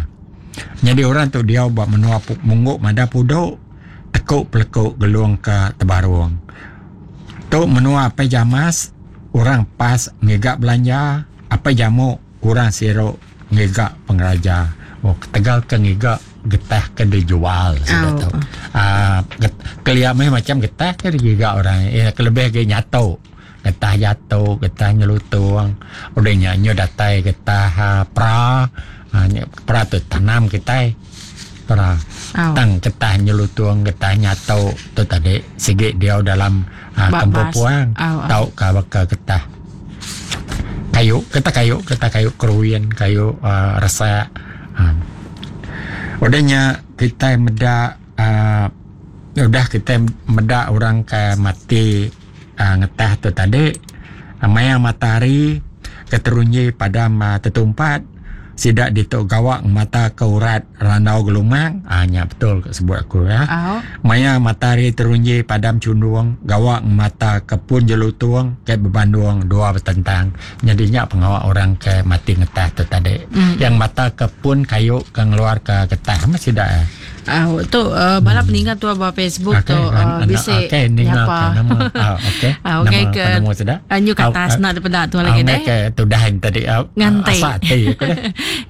[SPEAKER 1] Jadi orang tu dia buat menua mungguk mada puduk tekuk pelekuk gelung ke tebarung. Tu menua apa jamas orang pas ngiga belanja apa jamuk orang siruk ngiga pengeraja. Oh tegal ke ngiga getah ke dijual sudah
[SPEAKER 2] Oh.
[SPEAKER 1] tahu. Ah kelia meh macam getah ke digiga orang. Ya kelebih ke nyato. Getah jatuh, getah nyelutung. Udah nyanyo datai getah ha, pra. Ha, pra tu tanam kita. Pra.
[SPEAKER 2] Oh.
[SPEAKER 1] Tang getah nyelutung, getah nyato tu tadi sigit dia dalam ha,
[SPEAKER 2] Bak
[SPEAKER 1] kampung
[SPEAKER 2] bas.
[SPEAKER 1] puang.
[SPEAKER 2] Oh, oh.
[SPEAKER 1] Tau ka baka getah kayu, getah kayu, getah kayu keruin, kayu uh, resak. Ha. Udahnya kita meda uh, udah kita meda orang ke mati uh, ngetah tu tadi uh, maya matahari keterunyi pada uh, tetumpat sidak ditok gawak mata ke urat randau gelumang ah nya betul sebut aku ya.
[SPEAKER 2] Oh.
[SPEAKER 1] Maya matahari terunji padam cundung gawak mata ke pun jelutung ke berbandung dua bertentang. Jadinya pengawak orang ke mati ngetah tu tadi.
[SPEAKER 2] Mm.
[SPEAKER 1] Yang mata ke pun kayu ke ngeluar ke getah masih dak. Eh?
[SPEAKER 2] Ah, tu uh, balap hmm. meninggal tu abah Facebook
[SPEAKER 1] okay,
[SPEAKER 2] tu uh, bisa
[SPEAKER 1] okey ningal
[SPEAKER 2] nyapa.
[SPEAKER 1] ke nama ah okey.
[SPEAKER 2] Ah, okey
[SPEAKER 1] nama
[SPEAKER 2] ke
[SPEAKER 1] penemu sudah.
[SPEAKER 2] Anyu ke atas
[SPEAKER 1] Ah,
[SPEAKER 2] nak daripada tu
[SPEAKER 1] ah,
[SPEAKER 2] lagi deh.
[SPEAKER 1] Okey tu dah yang tadi ah,
[SPEAKER 2] Ngantai.
[SPEAKER 1] Asa ti aku deh.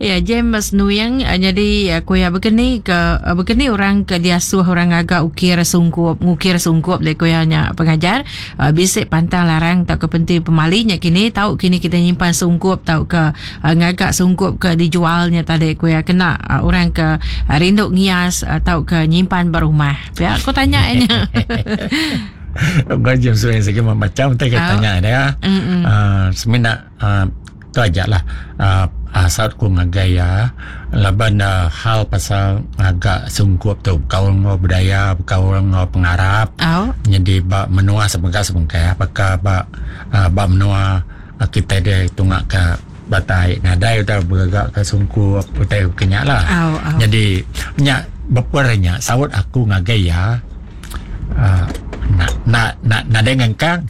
[SPEAKER 2] Ya James Nuyang uh, jadi uh, kuya begini ke uh, begini orang ke diasuh orang agak ukir sungkup ngukir sungkup le kuya nya pengajar uh, bisik pantang larang tak ke penting pemalinya kini tahu kini kita nyimpan sungkup tahu ke uh, ngagak sungkup ke dijualnya tadi kuya kena uh, orang ke uh, rinduk ngias atau ke nyimpan berumah. Ya, aku tanya nya.
[SPEAKER 1] Kau James Nuyang segi macam tak
[SPEAKER 2] Ah.
[SPEAKER 1] tanya dia.
[SPEAKER 2] Mm-mm.
[SPEAKER 1] Uh, semina uh, tu aja lah uh, asal ku ngagai ya laban uh, hal pasal agak sungkup tu kaul ngau budaya kaul ngau pengarap
[SPEAKER 2] Oh.
[SPEAKER 1] jadi bak menua sebengkah-sebengkah apakah bak uh, bak menua uh, kita dia tungak ke batai nadai udah beragak ke sungkup utai kenyak lah.
[SPEAKER 2] Oh, oh.
[SPEAKER 1] Jadi nyak bepernya saut aku ngagai ya uh, nak nak nak nadai ngengkang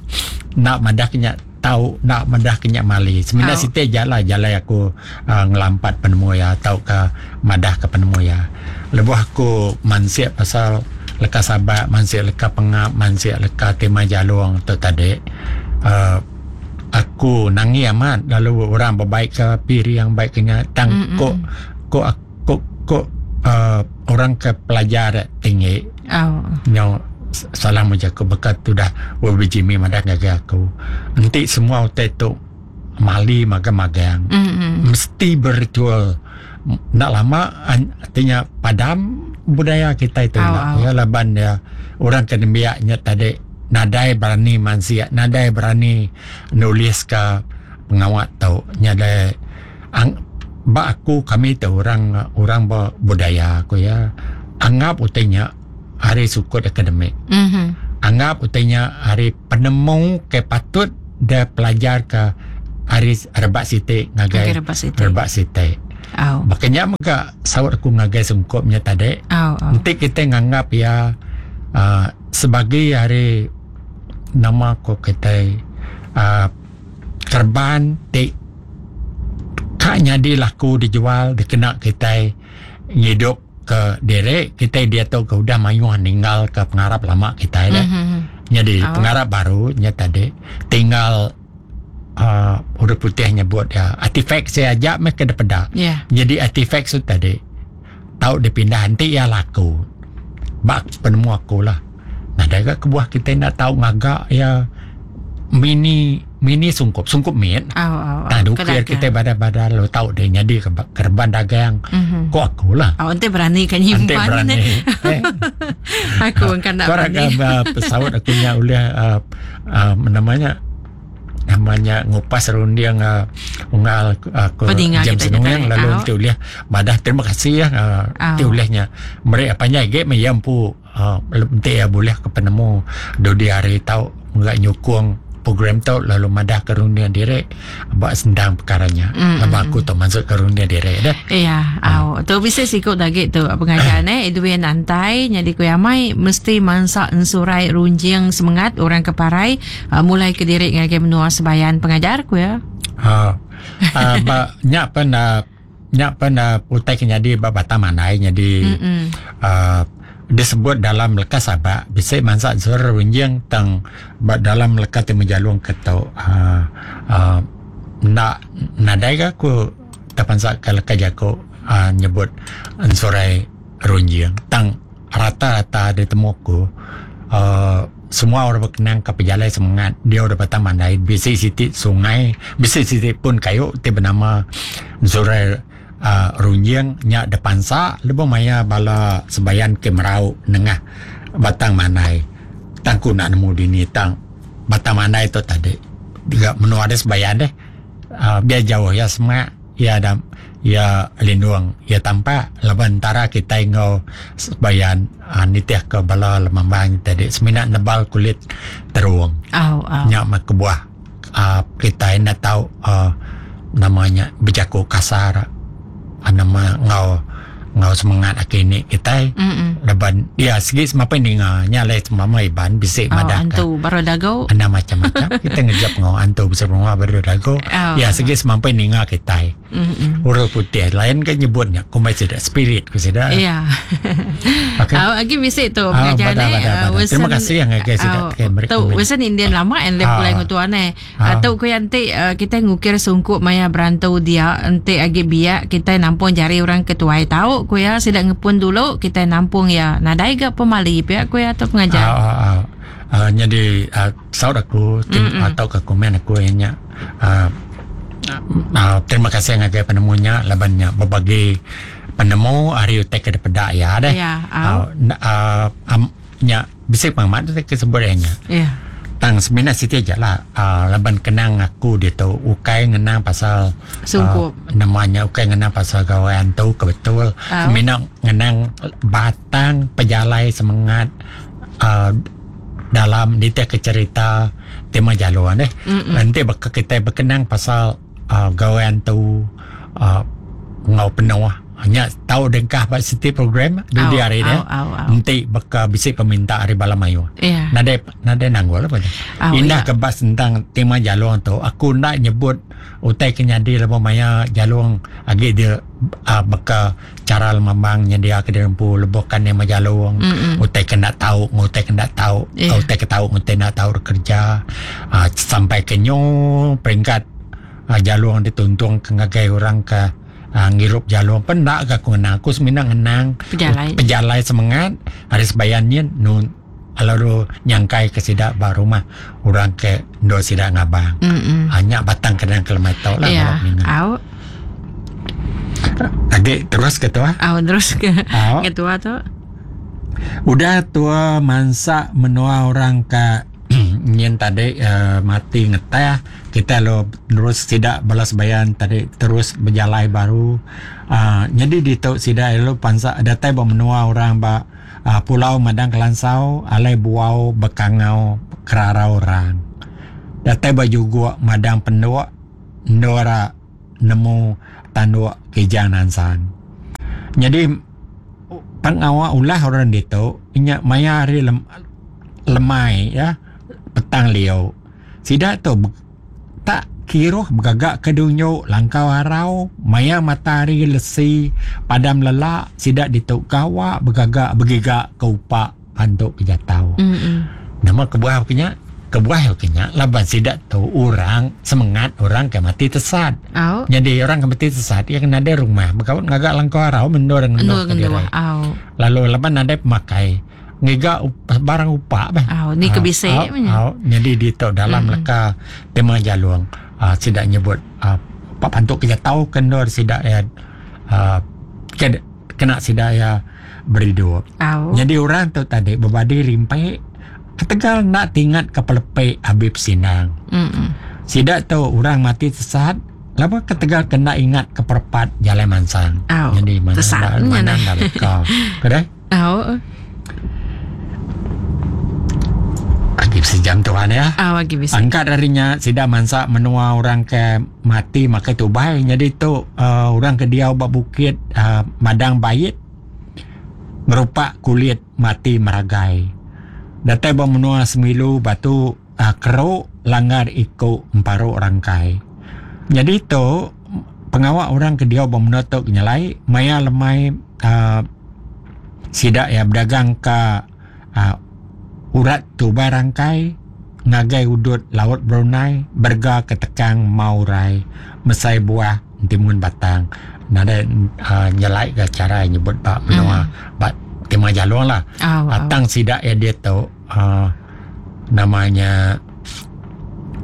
[SPEAKER 1] nak madah kenyak tahu nak madah kenyak mali. Sebenarnya
[SPEAKER 2] Oh.
[SPEAKER 1] siti jalan jalan aku uh, ngelampat penemu ya tau ke madah ke penemu ya. Lebuh aku mansiak pasal leka sabak, mansiak leka pengap, mansiak leka tema jalung tu tadi. Uh, aku nangi amat lalu orang berbaik ke piri yang baik kenya tang
[SPEAKER 2] Mm-mm.
[SPEAKER 1] kok kok kok kok uh, orang ke pelajar tinggi
[SPEAKER 2] Oh.
[SPEAKER 1] nyo salah macam aku bekat tu dah Jimmy madah ngagai aku nanti semua utai tu mali magang-magang
[SPEAKER 2] Mm-mm.
[SPEAKER 1] mesti berritual nak lama artinya padam budaya kita itu
[SPEAKER 2] Au,
[SPEAKER 1] nak
[SPEAKER 2] au.
[SPEAKER 1] ya laban ya orang kenembiaknya tadi nadai berani mansia nadai berani nulis ke pengawat tau nyadai ang ba aku kami tu orang orang budaya aku ya anggap utainya hari sukut akademik.
[SPEAKER 2] Mm-hmm.
[SPEAKER 1] Anggap utainya hari penemu ke patut dia pelajar ke hari rebak siti ngagai
[SPEAKER 2] rebak siti.
[SPEAKER 1] Rebak siti.
[SPEAKER 2] Oh.
[SPEAKER 1] Makanya mega saut aku ngagai sungkupnya tadi.
[SPEAKER 2] Oh, oh.
[SPEAKER 1] Nanti kita nganggap ya uh, sebagai hari nama ko kita uh, kerban ti kak nyadi laku dijual dikena kita ngidup ke derek kita dia tu ke udah mayuh ninggal ke pengarap lama kita dah.
[SPEAKER 2] Mm-hmm.
[SPEAKER 1] Jadi
[SPEAKER 2] oh.
[SPEAKER 1] pengarap baru nya tadi tinggal uh, huruf putih nyebut ya artifak saya ajak mereka depedak.
[SPEAKER 2] Yeah.
[SPEAKER 1] Jadi artifak tu tadi tahu dipindah nanti ya laku. Bak penemu aku lah. Nah dah kebuah kita nak tahu ngagak ya mini mini sungkup sungkup mit.
[SPEAKER 2] Oh, oh, oh.
[SPEAKER 1] Nah, dukir kita badal-badal lo tahu dia jadi kerban dagang.
[SPEAKER 2] Mm-hmm.
[SPEAKER 1] Kok aku lah.
[SPEAKER 2] Oh, ente berani kan nyimpan.
[SPEAKER 1] Ente berani. eh.
[SPEAKER 2] Aku kan nak berani.
[SPEAKER 1] Kau pesawat aku nya oleh uh, uh, namanya namanya ngupas runding uh, unggal aku uh, jam senung lalu oh. Ente oleh madah terima kasih ya uh, ente
[SPEAKER 2] oh.
[SPEAKER 1] olehnya mereka apanya ge meyampu uh, ente ya boleh ke penemu do di hari tahu enggak nyukung program tu lalu madah ke rundingan direk buat sendang perkaranya.
[SPEAKER 2] Mm,
[SPEAKER 1] Lepas aku tu masuk ke rundingan direk dah.
[SPEAKER 2] Iya,
[SPEAKER 1] ha.
[SPEAKER 2] Au. Tu bisa sikut lagi tu pengajian eh Edwin Antai nyadi ku amai mesti mansak ensurai runjing semangat orang keparai uh, mulai ke direk ngagai menua sebayan pengajar ku ya.
[SPEAKER 1] Ha. Uh, ba nyak pen uh, nyak pen uh, utai ke nyadi ba Batang Mandai nyadi uh, disebut dalam lekas sabak bisa mansak sur runjing tang dalam lekas ti menjalung ketau uh, uh, nak nadai ke aku terpansak ke lekas jako uh, nyebut ensurai runjing tang rata-rata ditemuku uh, semua orang berkenang ke pejalai semangat dia udah Batang Mandai bisi siti sungai bisi siti pun kayu ti bernama ensurai Uh, runjing nyak depan sa lebuh maya bala sebayan ke merau nengah Batang Mandai tangku nak nemu dini tang Batang Mandai tu tadi juga menua ada sebayan deh uh, biar jauh ya semak ya dam ya lindung ya tampak laban antara kita ngau sebayan uh, nitih ke bala lemambang tadi seminat nebal kulit teruang
[SPEAKER 2] oh, oh.
[SPEAKER 1] Nyak mak kebuah uh, kita nak tahu uh, namanya berjaku kasar nama ngau ngau semangat akini kita leban ya segi semapa ninga nya le semama iban bisik
[SPEAKER 2] oh,
[SPEAKER 1] madah
[SPEAKER 2] antu baru dago
[SPEAKER 1] anda macam-macam kita ngejap ngau antu besar rumah baru dago
[SPEAKER 2] oh.
[SPEAKER 1] Ya segi semapa ninga kita huruf putih lain kan nyebutnya kumai sudah spirit ku sudah
[SPEAKER 2] ya
[SPEAKER 1] okey
[SPEAKER 2] oh, lagi bisik tu pengajian
[SPEAKER 1] eh terima kasih yang guys sudah
[SPEAKER 2] tu wesen Indian lama and lep pulai ngutuan eh atau ku yanti kita ngukir sungkup maya berantau dia ente agi biak kita nampung jari orang ketuai tahu ku ya sidak ngepun dulu kita nampung ya nadai ga pemali pihak ku ya atau pengajar
[SPEAKER 1] ah ah, ah. Uh, jadi uh, saut aku tim, atau ke komen aku nya uh, uh, terima kasih ngagai penemunya labannya berbagi penemu hari utai ke depedak ya deh
[SPEAKER 2] ya
[SPEAKER 1] uh, uh, um, nya bisa pengamat tu kesebenarnya
[SPEAKER 2] ya
[SPEAKER 1] tang semina siti aja lah uh, laban kenang aku dia tu ukai ngenang pasal
[SPEAKER 2] sungkup
[SPEAKER 1] uh, namanya ukai ngenang pasal gawean tu kebetul
[SPEAKER 2] oh.
[SPEAKER 1] Semina ngenang batang pejalai semangat uh, dalam detail ke cerita tema jaluan deh
[SPEAKER 2] Mm-mm.
[SPEAKER 1] Nanti bak kita berkenang pasal uh, gawean tu uh, ngau penuh hanya tahu dengkah bak siti program di
[SPEAKER 2] Au,
[SPEAKER 1] hari
[SPEAKER 2] au,
[SPEAKER 1] dia
[SPEAKER 2] au, au.
[SPEAKER 1] nanti baka bisi peminta hari bala mayu
[SPEAKER 2] ya
[SPEAKER 1] nadai nadai nanggul apa
[SPEAKER 2] Au,
[SPEAKER 1] indah
[SPEAKER 2] ya.
[SPEAKER 1] kebas tentang tema jalung tu aku nak nyebut utai kenyadi lebuh maya jalung agi dia uh, baka cara lemambang nyedia ke dirempu lebuhkan tema jalung
[SPEAKER 2] Mm-mm.
[SPEAKER 1] utai kena tahu ngutai kena tahu
[SPEAKER 2] Ya.
[SPEAKER 1] utai ke tahu ngutai nak tahu kerja uh, sampai ke nyo peringkat uh, jalung dituntung ke ngagai orang ke uh, ngirup jalung pendak ke aku ngenang aku semina ngenang
[SPEAKER 2] Pejalai.
[SPEAKER 1] pejalai semangat hari sebayannya nun lalu nyangkai ke sidak ba rumah orang ke ndo sidak ngabang
[SPEAKER 2] Mm-mm.
[SPEAKER 1] hanya batang kenang kelemai tau lah
[SPEAKER 2] ya
[SPEAKER 1] kalau minat.
[SPEAKER 2] au
[SPEAKER 1] Adik terus ke tua
[SPEAKER 2] au terus ke
[SPEAKER 1] Au.
[SPEAKER 2] ketua tu
[SPEAKER 1] udah tua mansak menua orang ke nyen tadi uh, mati ngeteh kita lo terus tidak balas bayan tadi terus berjalai baru uh, jadi di tok sidak lo pansak datai ba menua orang ba uh, Pulau Madang Kelansau alai buau bekangau kerarau orang. Datai ba juguk Madang Penduk ndora nemu tanduk kijang nansang. Jadi pengawak ulah orang ditu nya maya hari lem, lemai ya petang liu. Sida tu tak kiruh bergagak ke dunyo langkau harau maya matahari lesi padam lelak sida ditu gawak bergagak bergigak ke upak pantuk ke jatau.
[SPEAKER 2] Mm-mm.
[SPEAKER 1] Nama kebuah kenya? Kebuah kenya laban sida tu orang semangat orang ke mati tesat.
[SPEAKER 2] Au.
[SPEAKER 1] Jadi orang ke mati tesat ia kena ada rumah berkawat ngagak langkau harau mendur
[SPEAKER 2] Endur
[SPEAKER 1] ngendur ke
[SPEAKER 2] ngendur.
[SPEAKER 1] diri.
[SPEAKER 2] Au.
[SPEAKER 1] Lalu laban ada pemakai ngiga up, barang upak bah.
[SPEAKER 2] Au, ni kebisik
[SPEAKER 1] Ah,
[SPEAKER 2] punya.
[SPEAKER 1] au, jadi di tu dalam mm-hmm. leka tema jalung uh, sidak nyebut uh, pak pantuk kerja tahu kendor sidak ya uh, kena sidak ya beridup.
[SPEAKER 2] Au.
[SPEAKER 1] Jadi orang tu tadi berbadi rimpai ketegal nak tingat ke pelepek Habib Sinang.
[SPEAKER 2] Mm-mm.
[SPEAKER 1] Sidak tu orang mati sesat lama ketegal kena ingat ke perpat jalan mansang.
[SPEAKER 2] Au.
[SPEAKER 1] Jadi mana
[SPEAKER 2] Tesat
[SPEAKER 1] mana,
[SPEAKER 2] nya
[SPEAKER 1] mana
[SPEAKER 2] ni.
[SPEAKER 1] dah leka. Kedai?
[SPEAKER 2] Au.
[SPEAKER 1] Agip sejam tuan ya.
[SPEAKER 2] Au lagi bisa.
[SPEAKER 1] Angkat darinya sida mansak menua orang ke mati makai tubai. Jadi tu uh, orang ke diau bak bukit uh, Madang Bait ngerupak kulit mati meragai. Datai ba menua semilu batu uh, keruk langgar ikut emparuk rangkai. Jadi tu pengawak orang ke diau ba menua tu nyelai maya lemai uh, sida ya berdagang ke uh, urat tubai rangkai ngagai udut laut Brunei berga ketekang maurai mesai buah timun batang. Nada uh, nyelai ke cara nyebut bak menua mm. bak tema jalung lah.
[SPEAKER 2] Au. Au.
[SPEAKER 1] Atang sidak ya dia tu uh, namanya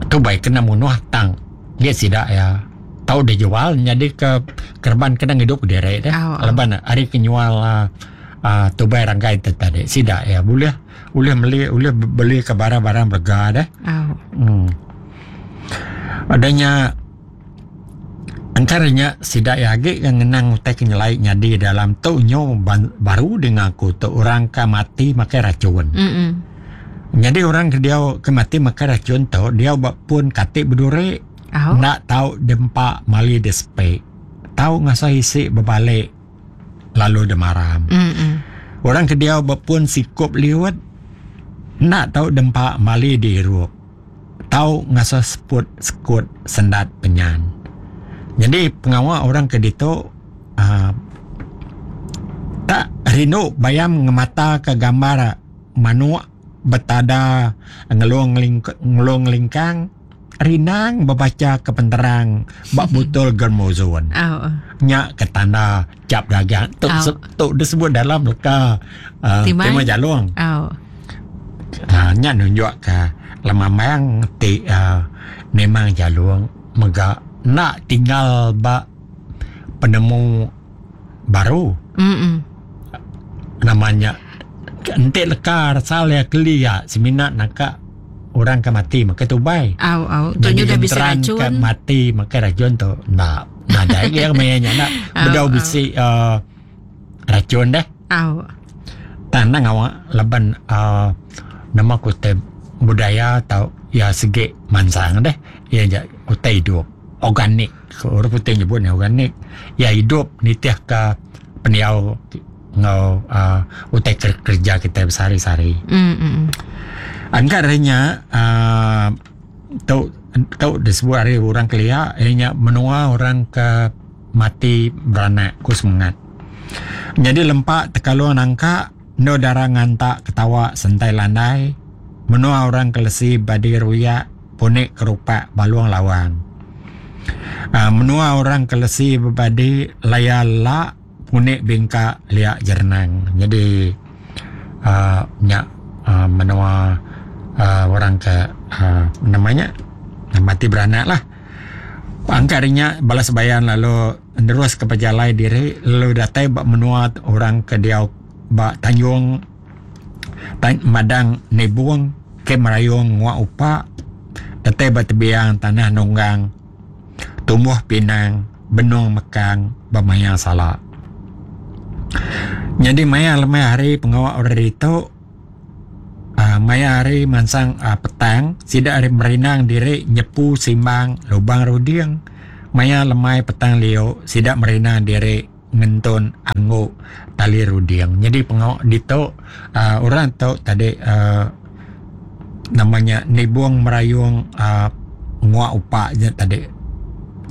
[SPEAKER 1] tu baik kena munuh tang dia sidak ya tahu dia jual jadi ke kerban kena hidup derek dah.
[SPEAKER 2] Au, au.
[SPEAKER 1] Leban hari kenyual uh, uh, tubai rangkai tu tadi sidak ya boleh boleh beli boleh beli ke barang-barang berga dah.
[SPEAKER 2] Au.
[SPEAKER 1] Hmm. Adanya antaranya sidak ya agi yang ngenang utai kenyelai nyadi dalam tu nyo ban, baru dengan aku tu orang ke mati makai racun.
[SPEAKER 2] Mm-mm.
[SPEAKER 1] Jadi orang ke dia ke mati makai racun tu dia buat pun katik berduri
[SPEAKER 2] Au.
[SPEAKER 1] nak tahu dempak mali despe. Tahu ngasa isi berbalik lalu demaram.
[SPEAKER 2] Mm-mm.
[SPEAKER 1] Orang ke dia buat pun sikup liwat nak tahu dempak mali dirup. Tahu ngasa seput sekut sendat penyan. Jadi pengawal orang ke ditu uh, tak rindu bayam ngemata ke gambar manuk betada ngelung ling, ngelung lingkang rinang membaca ke penterang bak botol germozon.
[SPEAKER 2] Au.
[SPEAKER 1] Nyak ke tanda cap dagang tu
[SPEAKER 2] Au.
[SPEAKER 1] tu disebut dalam leka uh,
[SPEAKER 2] Timai.
[SPEAKER 1] tema jalung.
[SPEAKER 2] Au.
[SPEAKER 1] Ha, nyak nunjuk ke lemamang ti uh, memang jalung mega nak tinggal bak penemu baru
[SPEAKER 2] Mm-mm.
[SPEAKER 1] namanya entik leka rasal ya kelia seminat naka orang ke mati maka tubai.
[SPEAKER 2] Au au. Tu nya dah bisa
[SPEAKER 1] genteran ke
[SPEAKER 2] racun.
[SPEAKER 1] mati maka racun tu nak nadai yang mainnya nak
[SPEAKER 2] Au,
[SPEAKER 1] bedau
[SPEAKER 2] au.
[SPEAKER 1] bisi uh, racun dah.
[SPEAKER 2] Au.
[SPEAKER 1] Tanah awak laban uh, nama kute budaya atau ya segi mansang deh ya ja utai hidup organik orang putih nyebutnya organik ya hidup nitih ke peniau ngau uh, utai kerja kita besari-sari.
[SPEAKER 2] Mm-mm.
[SPEAKER 1] Angkarnya uh, tau tau disebut hari orang kelia ianya menua orang ke mati beranak ku semangat. Jadi lempak tekalung nangka no darah ngantak ketawa sentai landai menua orang kelesi badi ruyak punik kerupak baluang lawang. Uh, menua orang kelesi berbadi layala punik bingka liak jernang. Jadi uh, nyak uh, menua uh, orang ke uh, namanya mati beranak lah. Angkarinya balas bayan lalu terus ke pejalai diri lalu datai bak menua orang ke dia bak Tanjung tan, Madang Nebung ke Merayung Nguak Upak datai bak tebiang tanah nonggang tumbuh pinang benung mekang bermaya salak. Jadi maya lemai hari pengawak orang itu uh, maya hari mansang uh, petang sida hari merinang diri nyepu simbang lubang ruding. Maya lemai petang liu sida merinang diri ngentun angguk tali ruding. Jadi pengawak ditu uh, orang tu tadi uh, namanya nibung merayung uh, nguak upak je tadi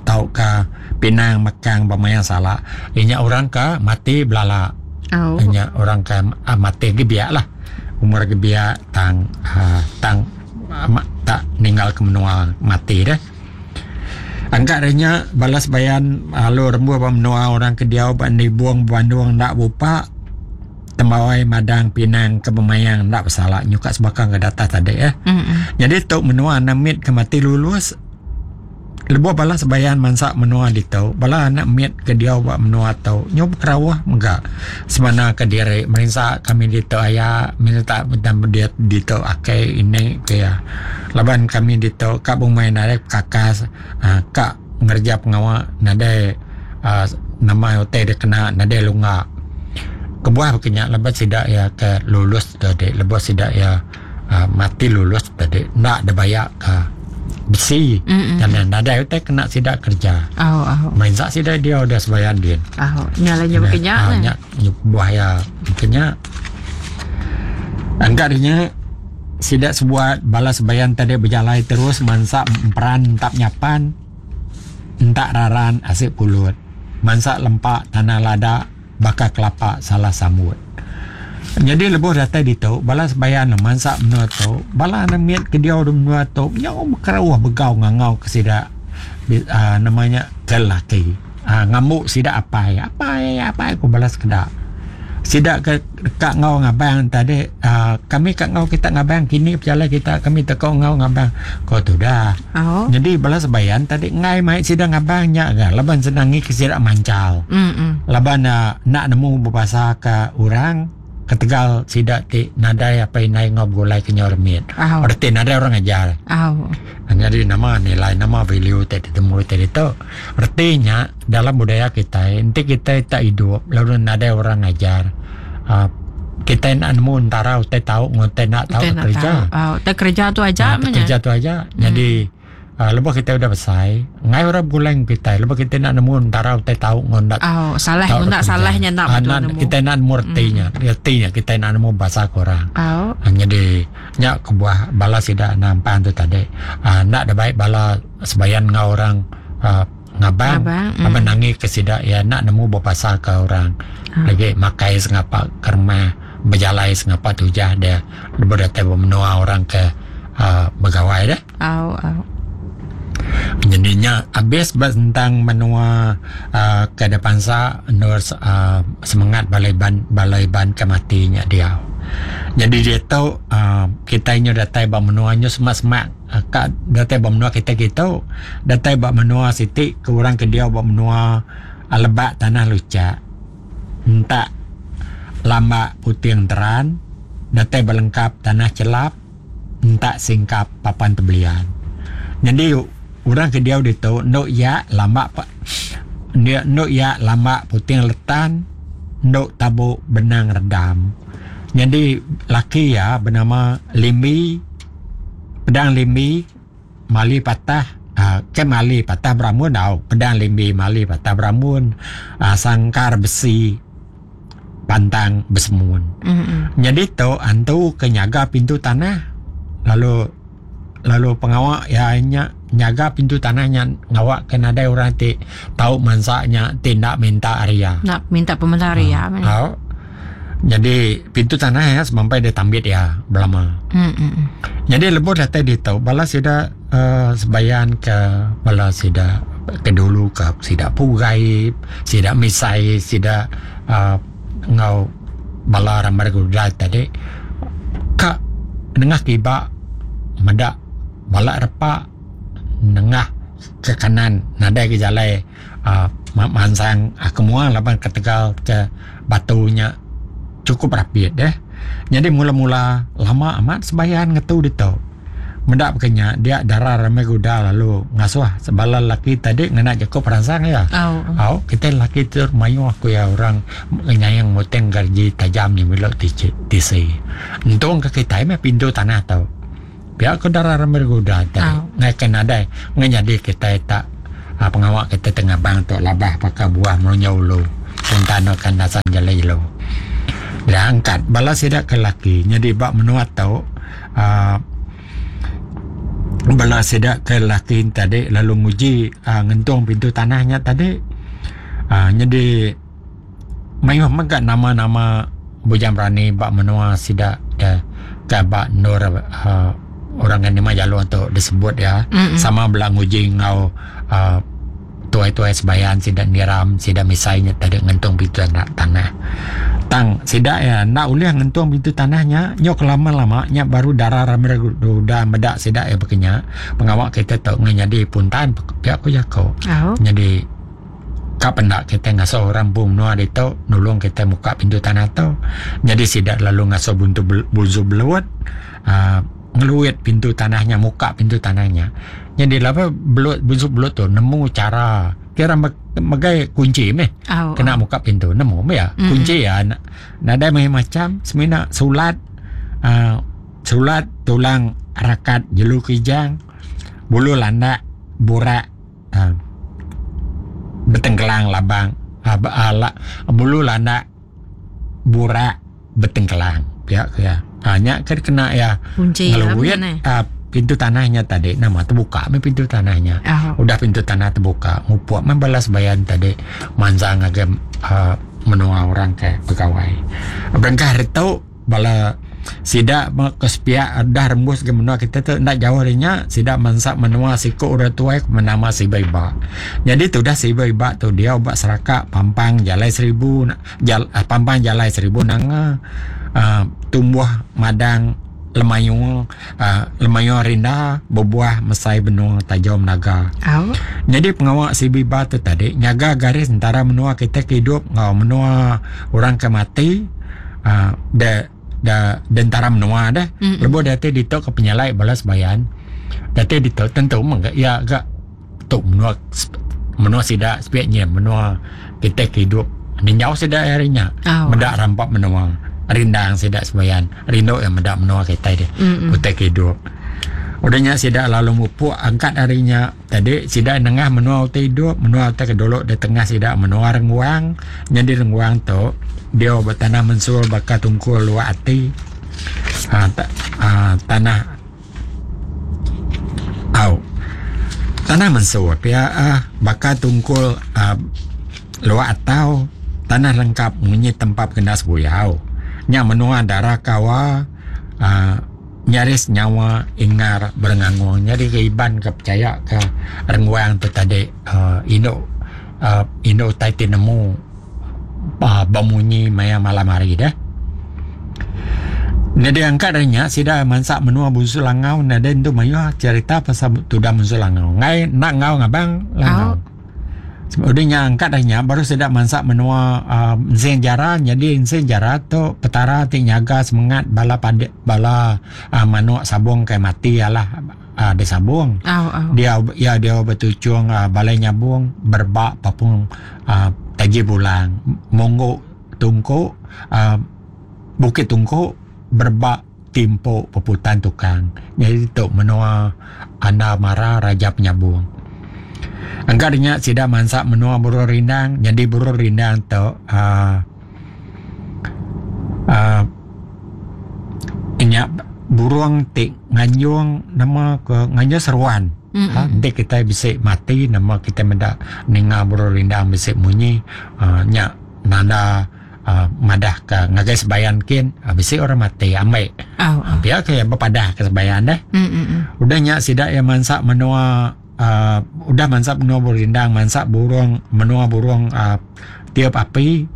[SPEAKER 1] tau ka pinang mekang bermaya salah. Inya orang ka mati belala.
[SPEAKER 2] Oh.
[SPEAKER 1] Inya orang ka uh, mati gebiak lah. Umur gebiak tang uh, tang uh, tak ninggal ke menua mati dah. Angkat renya balas bayan lalu rembu ba menua orang ke diau ba nibung bandung nak bupak tembawai madang pinang ke pemayang nak bersalah nyukat sebakang ke data tadi eh.
[SPEAKER 2] Mm-mm.
[SPEAKER 1] Jadi tok menua anak mit ke mati lulus lebuh balas bayan mansak menua ditu bala anak mit ke diau ba menua tau nyob kerawah mega semana ke diri merinsa kami ditu aya minta dan dia ditu akai ini ke ya laban kami ditu kak bumai nadai kakas uh, kak ngerja pengawa nadai uh, nama hotel dia kena nadai lunga kebuah berkenyak lepas sidak ya ke lulus tadi lepas sidak ya uh, mati lulus tadi nak ada bayar ke besi dan nadai hotel kena sidak kerja.
[SPEAKER 2] Oh, oh.
[SPEAKER 1] Main sak sidak dia udah sebayan dia.
[SPEAKER 2] Oh, nyalanya berkenyak.
[SPEAKER 1] Ah, nyak buah ya berkenyak. Angkat dia sidak sebuat balas bayan tadi berjalai terus mansak peran tak nyapan entak raran asik pulut mansak lempak tanah lada bakar kelapa salah sambut. Jadi lebuh datai ditu balas bayan mansak menua tu bala anak ke dia menua tu nyau berkerawah begau ngangau ke sidak uh, namanya kelaki uh, ngamuk sidak apai apai apai aku balas kedak sidak ke dekat ngau ngabang tadi uh, kami kat ngau kita ngabang kini berjalan kita kami tekau ngau ngabang kau tu dah.
[SPEAKER 2] Oh.
[SPEAKER 1] Jadi balas bayan tadi ngai mai sidak ngabang nya ga laban senangi ke sidak mancal.
[SPEAKER 2] Mm-mm.
[SPEAKER 1] Laban uh, nak nemu berbahasa ke orang ketegal sidak ti nadai apa inai ngau gulai ke nyormit.
[SPEAKER 2] Oh.
[SPEAKER 1] Erti nadai orang ajar.
[SPEAKER 2] Oh.
[SPEAKER 1] Jadi nama nilai nama value tadi temu tadi tu artinya dalam budaya kita nanti kita tak hidup lalu nadai orang ajar uh, kita nak nemu antara utai tahu ngote nak tahu kerja.
[SPEAKER 2] Oh, tak kerja tu aja
[SPEAKER 1] uh, kerja tu aja. Hmm. Jadi uh, lepas kita udah besar ngai orang bulan kita lepas kita nak nemu antara utai tahu ngon nak
[SPEAKER 2] oh, salah nak salahnya nak
[SPEAKER 1] uh, nak, kita nak nemu artinya hmm. Artinya kita nak nemu bahasa korang.
[SPEAKER 2] Oh.
[SPEAKER 1] Uh, jadi nyak kebuah bala sidak nampan tu tadi uh, nak ada baik bala sebayan ngau orang uh, ngabang abang mm. nangi ke sidak ya nak nemu berbahasa ke orang
[SPEAKER 2] ah.
[SPEAKER 1] Lagi makai sengapa kerma berjalai sengapa tujah dia berdatai menua orang ke uh, begawai dah.
[SPEAKER 2] Oh, oh.
[SPEAKER 1] Jadinya habis tentang menua uh, ke depan sa nur uh, semangat balai ban balai ban kematinya dia. Jadi dia tahu uh, kita ini datai ba menuanya semak-semak uh, kat datai ba menua kita kita datai ba menua siti ke orang ke dia ba menua uh, lebak tanah lucak entak lambak putih teran datai berlengkap tanah celap entak singkap papan tebelian. Jadi orang ke dia ditu ndok ya lambak pak dia ndok ya lambak putih letan ndok tabuk benang redam. Jadi laki ya bernama Limbi pedang Limbi mali patah uh, ke mali patah beramun tau pedang Limbi mali patah beramun uh, sangkar besi pantang bersemun.
[SPEAKER 2] Mm-hmm.
[SPEAKER 1] Jadi tu antu ke nyaga pintu tanah lalu lalu pengawak ya nya nyaga pintu tanahnya ngawak kena ada orang ti tahu mansaknya tindak minta area.
[SPEAKER 2] Nak minta pementar area.
[SPEAKER 1] Uh, uh, jadi pintu tanah ya sampai dia tambit ya belama.
[SPEAKER 2] Mm-hmm.
[SPEAKER 1] Jadi lebuh datai di tahu balas sida uh, sebayan ke balas sida ke dulu ke sida pugai sida misai sida uh, ngau bala ramai gudai tadi ka nengah kiba mendak balak repak nengah ke kanan nadai ke jalai uh, mansang uh, kemuang laban ke Tegal ke batunya cukup rapid deh. Jadi mula-mula lama amat sebayan ngetu ditu. Mendak bekenya dia darah ramai guda lalu ngasuh sebala lelaki tadi ngena jaku peransang ya.
[SPEAKER 2] Oh.
[SPEAKER 1] Au kita lelaki tu mayu aku ya orang nyayang moteng gaji tajam ni melok tisi. Untung ke kita meh pintu tanah tau. Pihak ke darah ramai guda tadi.
[SPEAKER 2] Oh.
[SPEAKER 1] Ngai kena adai ngenyadi kita tak ha, pengawak kita tengah bang tu labah pakai buah melunyau ulu. Puntan akan dasan jalai ulu. Dia angkat bala sidak ke lelaki jadi bak menua tau uh, bala sidak ke lelaki tadi lalu nguji uh, ngentung pintu tanahnya tadi uh, jadi mayuh megak nama-nama bujang berani bak menua sidak ya, ke bak nur uh, orang yang lima jalur tu disebut ya.
[SPEAKER 2] Mm-mm.
[SPEAKER 1] Sama bela nguji ngau uh, tuai-tuai sebayan sidak niram sidak misainya tadi ngentung pintu tanah, tanah. Tang sidak ya nak ulih ngentung pintu tanahnya nyok lama-lama nya baru darah ramai udah medak sidak ya bekenya pengawak kita tok ngenyadi puntan pihak ku jako.
[SPEAKER 2] Oh.
[SPEAKER 1] Jadi kapan nak kita ngasuh orang pun menua ditu nulung kita muka pintu tanah tu. Jadi sidak lalu ngasuh buntu buzu beluat uh, ngeluit pintu tanahnya muka pintu tanahnya. Jadi lapa belut buzu belut tu nemu cara kira megai kunci meh.
[SPEAKER 2] Oh,
[SPEAKER 1] kena
[SPEAKER 2] oh.
[SPEAKER 1] muka pintu nemu meh ya.
[SPEAKER 2] Mm-hmm.
[SPEAKER 1] Kunci ya nadai meh macam semina sulat uh, sulat tulang rakat jelu kijang bulu landak burak uh, betengkelang labang uh, ala, bulu landak burak betengkelang ya ya hanya kena ya
[SPEAKER 2] kunci
[SPEAKER 1] ngeluit uh, pintu tanahnya tadi nama terbuka me pintu tanahnya.
[SPEAKER 2] Oh.
[SPEAKER 1] Udah pintu tanah terbuka ngupuk membalas bayan tadi manzang agak uh, menua orang ke pegawai berangkah retu bala sidak ke sepiak dah rembus ke menua kita tu nak jauh darinya sidak mansak menua siku orang tua menama si Baiba. Jadi tu dah si Baiba tu dia ubat seraka pampang jalai seribu jal, pampang jalai seribu nanga uh, tumbuh madang lemayung uh, lemayung rinda berbuah mesai benung tajam naga.
[SPEAKER 2] Oh.
[SPEAKER 1] Jadi pengawak si Biba tu tadi nyaga garis antara menua kita ke hidup ngau menua orang ke mati uh, de da dentara menua dah.
[SPEAKER 2] Mm-mm.
[SPEAKER 1] Lebuh dati ditok ke penyalai balas bayan. Dati ditok tentu mengga ya agak tok menua menua sidak sepiaknya menua kita ke hidup ninjau sidak harinya.
[SPEAKER 2] Oh.
[SPEAKER 1] Mendak rampak menua. Rindang sidak sebayan rindu yang mendak menua kita dia.
[SPEAKER 2] Mm-mm.
[SPEAKER 1] Utai hidup. Udahnya sidak lalu mupuk angkat harinya tadi sidak nengah menua utai hidup menua utai kedolok di tengah sidak menua renguang. Jadi renguang tu dia bertanah mensul bakal tungkul luak hati ha, ta, ha, tanah au tanah mensul pia ah, bakal tungkul ah, luak atau tanah lengkap munyi tempat kendas buyau nya menua darah kawa uh, nyaris nyawa ingar berengangung. Jadi keiban ke percaya ke renguang tu tadi uh, induk uh, induk tai ti nemu uh, bemunyi maya malam hari dah. Nada angkat darinya sida mansak menua bunsu langau nada tu mayu cerita pasal tudah bunsu langau. Ngai nak ngau ngabang langau.
[SPEAKER 2] Oh.
[SPEAKER 1] Udahnya angkat dahnya baru sedap mansak menua uh, Ensing Jara. Jadi Ensing Jara tu petara ti nyaga semangat bala pade, bala uh, manuk sabung kai mati alah uh, dia sabung.
[SPEAKER 2] Oh, oh.
[SPEAKER 1] Dia ya dia bertucung uh, balai nyabung berbak papung uh, taji bulang monggok tungkuk uh, bukit tungkuk berbak timpuk peputan tukang. Jadi tu menua anda mara raja penyabung. Angkat dia sidak mansak menua burung rindang. Jadi burung rindang tu uh, uh, inyak burung tik nganjung nama ke nganjung seruan.
[SPEAKER 2] Mm-hmm.
[SPEAKER 1] Ha, nanti kita bisa mati nama kita mendak ninga burung rindang bisa bunyi uh, nyak nanda uh, madah ke ngagai sebayan kin uh, bisa orang mati amai.
[SPEAKER 2] Oh, oh.
[SPEAKER 1] Biar ke berpadah ke sebayan dah.
[SPEAKER 2] Mm-hmm.
[SPEAKER 1] Udah nyak sidak yang mansak menua Uh, udah mansak menua burung rindang, mansak burung menua burung uh, tiap api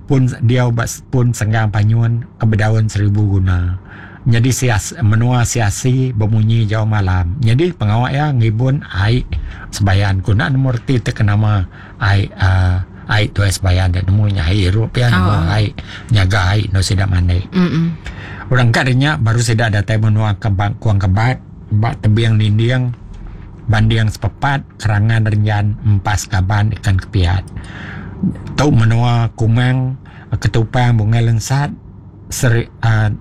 [SPEAKER 1] pun dia ubat pun senggang panyun kebedaun seribu guna. Jadi sias, menua siasi bemunyi jauh malam. Jadi pengawak ya ngibun ai sebayan guna nomor ti terkenama ai uh, ai tu sebayan dan nemunya ai hirup ya nemu
[SPEAKER 2] Oh.
[SPEAKER 1] ai nyaga ai no sidak mandi.
[SPEAKER 2] Mm-mm.
[SPEAKER 1] Orang kadangnya baru sidak datai menua kebang kuang kebat. Bak tebing ninding banding sepepat kerangan renjan empas kaban ikan kepiat. Tu menua Kumang Ketupang Bungai Lensat seri uh,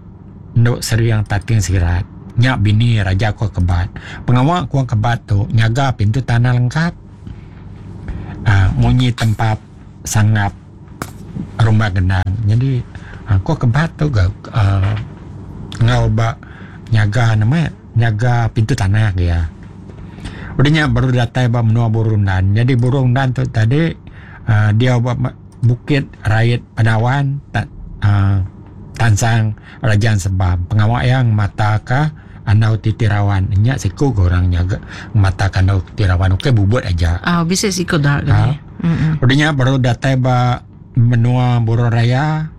[SPEAKER 1] nduk seriang tating sirat. Nyak bini Raja Kuang Kebat. Pengawa Kuang Kebat tu nyaga pintu tanah lengkap. Uh, munyi tempat sangap rumah gendang. Jadi uh, Kuang Kebat tu ga uh, ngau ba nyaga nama nyaga pintu tanah dia. Udahnya baru datai ba menua Burundan. Jadi Burundan tu tadi uh, dia ba Bukit Rait Padawan tak uh, Tansang Rajang Sebam. Pengawak yang mata ka andau titirawan. Nyak siku ke orang nyaga mata ka andau titirawan. Okey bubut aja.
[SPEAKER 2] Ah, oh, bisa siku dah kan.
[SPEAKER 1] Ha. Udahnya baru datai ba menua Burung Raya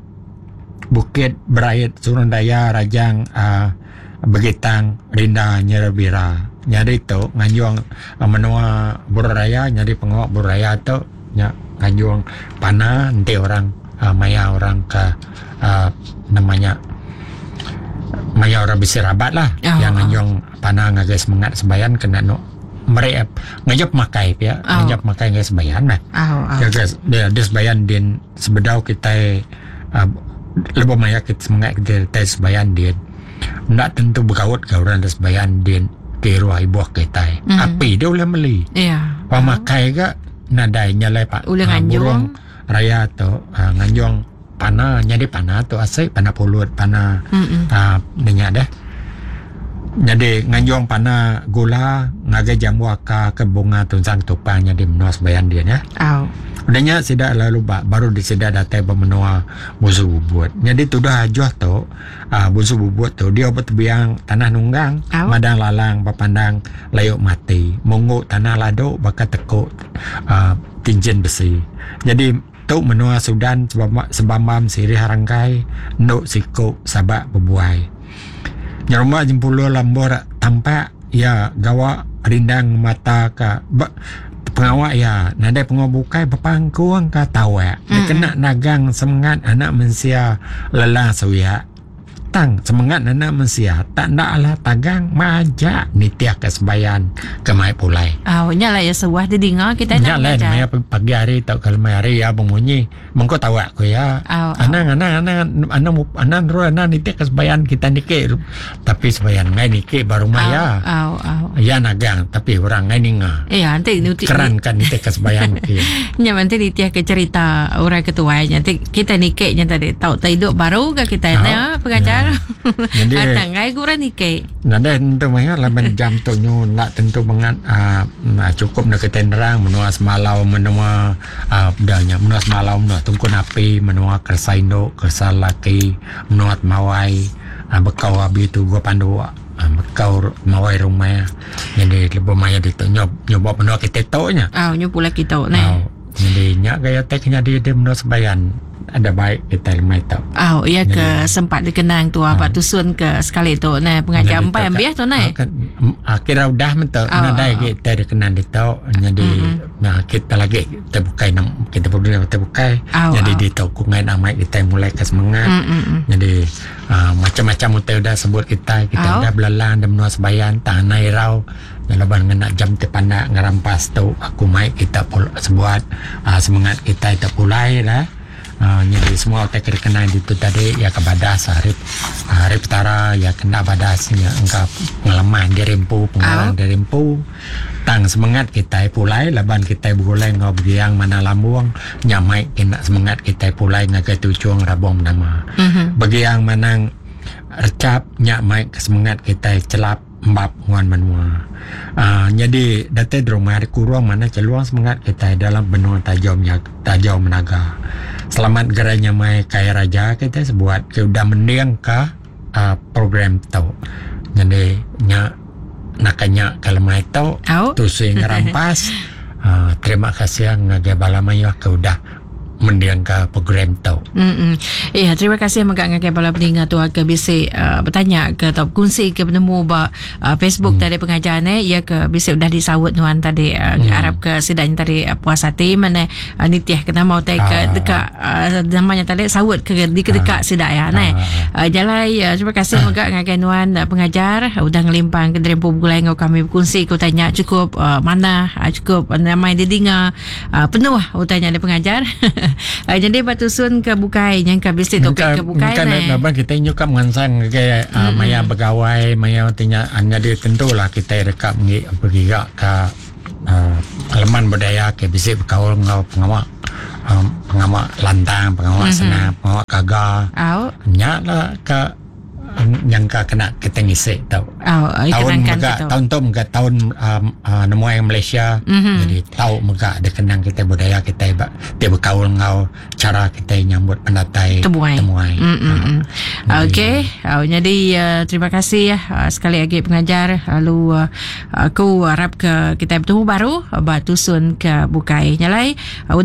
[SPEAKER 1] Bukit Berait Surundaya Rajang uh, Begitang Rinda Nyerabira. Nyari tu nganjung uh, menua Burung Raya, nyari pengawak Burung Raya tu nyak nganjung panah nanti orang uh, maya orang ke uh, namanya maya orang bisirabat lah oh, yang nganjung oh. panah ngagai semangat sembayan kena no mereka ngajap makai ya oh. ngajap makai ngagai sembayan lah
[SPEAKER 2] oh, oh.
[SPEAKER 1] Jaga dia dia sembayan din sebedau kita uh, lebih maya kita semangat kita kita sembayan din nak tentu berkaut ke orang dia sembayan din ke ruah ibu kita mm. api dia boleh beli
[SPEAKER 2] ya
[SPEAKER 1] yeah. Pemakai ke nadai nyalai pak
[SPEAKER 2] uh,
[SPEAKER 1] burung raya tu uh, nganjung panah jadi panah tu asik panah pulut panah uh, minyak dah jadi nganjung panah gula ngagai jamu akar ke bunga tunsang tupang jadi menua sembayan dia ya.
[SPEAKER 2] Oh.
[SPEAKER 1] Udahnya sidak lalu ba, baru disidak datai bermenua busu bubut. Jadi tudah ajuh tu uh, busu bubut tu dia bertebiang tanah nunggang,
[SPEAKER 2] oh.
[SPEAKER 1] Madang lalang berpandang layuk mati, mungguk tanah laduk bakal tekuk uh, tinjen besi. Jadi tu menua Sudan sebambam sirih harangkai nduk sikuk sabak berbuai. Nyerumah jempulu lambor tampak ya gawak rindang mata ka ba, pengawak ya nadai pengawak bukai berpangkuang ka tawak mm. Dikena nagang semangat anak mensia lelah suyak tang semangat anak mensia tak nak lah tagang majak nitiah ke sembayan ke mai pulai.
[SPEAKER 2] Ah, oh, nyala ya sebuah didengar kita
[SPEAKER 1] nak nyala maya pagi hari atau kalau mai hari ya bunyi mengko tawak ko ya.
[SPEAKER 2] Oh, oh.
[SPEAKER 1] Anang anang anang anang anang ro anang nitiah ke sembayan kita nike tapi sembayan ngai nike baru maya.
[SPEAKER 2] Oh, oh, oh.
[SPEAKER 1] Ya nagang tapi orang ngai ninga.
[SPEAKER 2] Iya, nanti nuti
[SPEAKER 1] keran kan nitiah ke sembayan ki.
[SPEAKER 2] Nya nanti nitiah ke cerita orang ketua nanti kita nike nya tadi tahu tak hidup baru ke kita
[SPEAKER 1] oh,
[SPEAKER 2] ya pengajar.
[SPEAKER 1] Jadi
[SPEAKER 2] atang ai kurang nike.
[SPEAKER 1] Nada tentu maya laban jam tu nyu nak tentu banget uh, cukup nak kita nerang menua semalau menua uh, bedanya menua semalau menua tungkun api menua kersa induk kersa laki menua mawai uh, bekau abi tu gua pandu uh, bekau mawai rumah. Jadi lebih maya ditu nyob nyoba menua kita tu nya.
[SPEAKER 2] Ah uh, nyob pula kita ne.
[SPEAKER 1] Uh, jadi nyak gaya teknya di dia menua sebayan ada baik kita lemai tak.
[SPEAKER 2] Oh, iya ke sempat dikenang tu apa tusun ke sekali tu nah pengajar empat yang bias tu nah.
[SPEAKER 1] Kira udah mentu nadai kita dikenang di tu jadi nah kita lagi kita bukai kita perlu kita bukai jadi di tu kungai amai kita mulai ke semangat. Jadi macam-macam utai udah sebut kita kita udah belalang dan menua sebayan tanah irau laban ngena jam te pandak ngerampas tu aku mai kita sebuat semangat kita itu pulai lah. Uh, jadi semua otak kena itu tadi ya ke badas hari hari petara ya kena badasnya engkau pengalaman dirempu pengalaman dirempu tang semangat kita pulai laban kita bergulai ngau begiang mana lambung nyamai kena semangat kita pulai ngagai tujuan rabong nama
[SPEAKER 2] mm-hmm.
[SPEAKER 1] Begiang manang recap nyamai semangat kita celap mbap nguan menua. Uh, jadi datai rumah kurang mana celuang semangat kita dalam benua tajam tajam menaga. Selamat gerai nyamai kaya raja kita sebuat ke udah mending ke uh, program tu. Jadi nya nakanya kalau mai tu
[SPEAKER 2] oh.
[SPEAKER 1] Tu sing rampas. Uh, terima kasih ngagai bala mayuh ke udah mendingka program tu.
[SPEAKER 2] Mm-mm. Ya, terima kasih mega ngagai bala peninga tu ke bisi uh, bertanya ke atau kongsi ke penemu ba uh, Facebook hmm. tadi pengajar ne, ya ke bisi udah disaut nuan tadi uh, hmm. arap ke sidanya tadi uh, puas hati mana uh, nitih ke nama utai ke ah. dekat uh, namanya tadi saut ke di ke dekat ah. sidak ya ne. Uh, jalai uh, terima kasih ah. mega ngagai nuan uh, pengajar uh, udah ngelimpang ke derempu begulai ngau kami berkongsi ke tanya cukup uh, mana uh, cukup uh, namai didinga uh, penuh utanya ada pengajar. Uh, jadi batusun ke bukai yang ke bisi topik ke bukai
[SPEAKER 1] ne. Kan kita nyukap ngansang ke uh, maya begawai maya tinya jadi tentulah kita dekat mengi bergiga ke uh, elemen budaya ke bisi berkaul ngau pengawak um, pengawak lantang, pengawak mm-hmm. senang, pengawak kaga.
[SPEAKER 2] Au.
[SPEAKER 1] Nya lah ke yang ka kena kita ngisi tau.
[SPEAKER 2] Oh,
[SPEAKER 1] tahun mega tahun tu mega tahun um, uh, nemuai Malaysia
[SPEAKER 2] mm-hmm.
[SPEAKER 1] jadi tau mega ada kenang kita budaya kita ba, dia berkaul ngau cara kita nyambut pendatai
[SPEAKER 2] temuai.
[SPEAKER 1] Temuai.
[SPEAKER 2] Mm-hmm. Uh, Okey, oh, jadi uh, terima kasih uh, sekali lagi pengajar lalu uh, aku harap ke kita bertemu baru batusun ke bukai nyalai uh,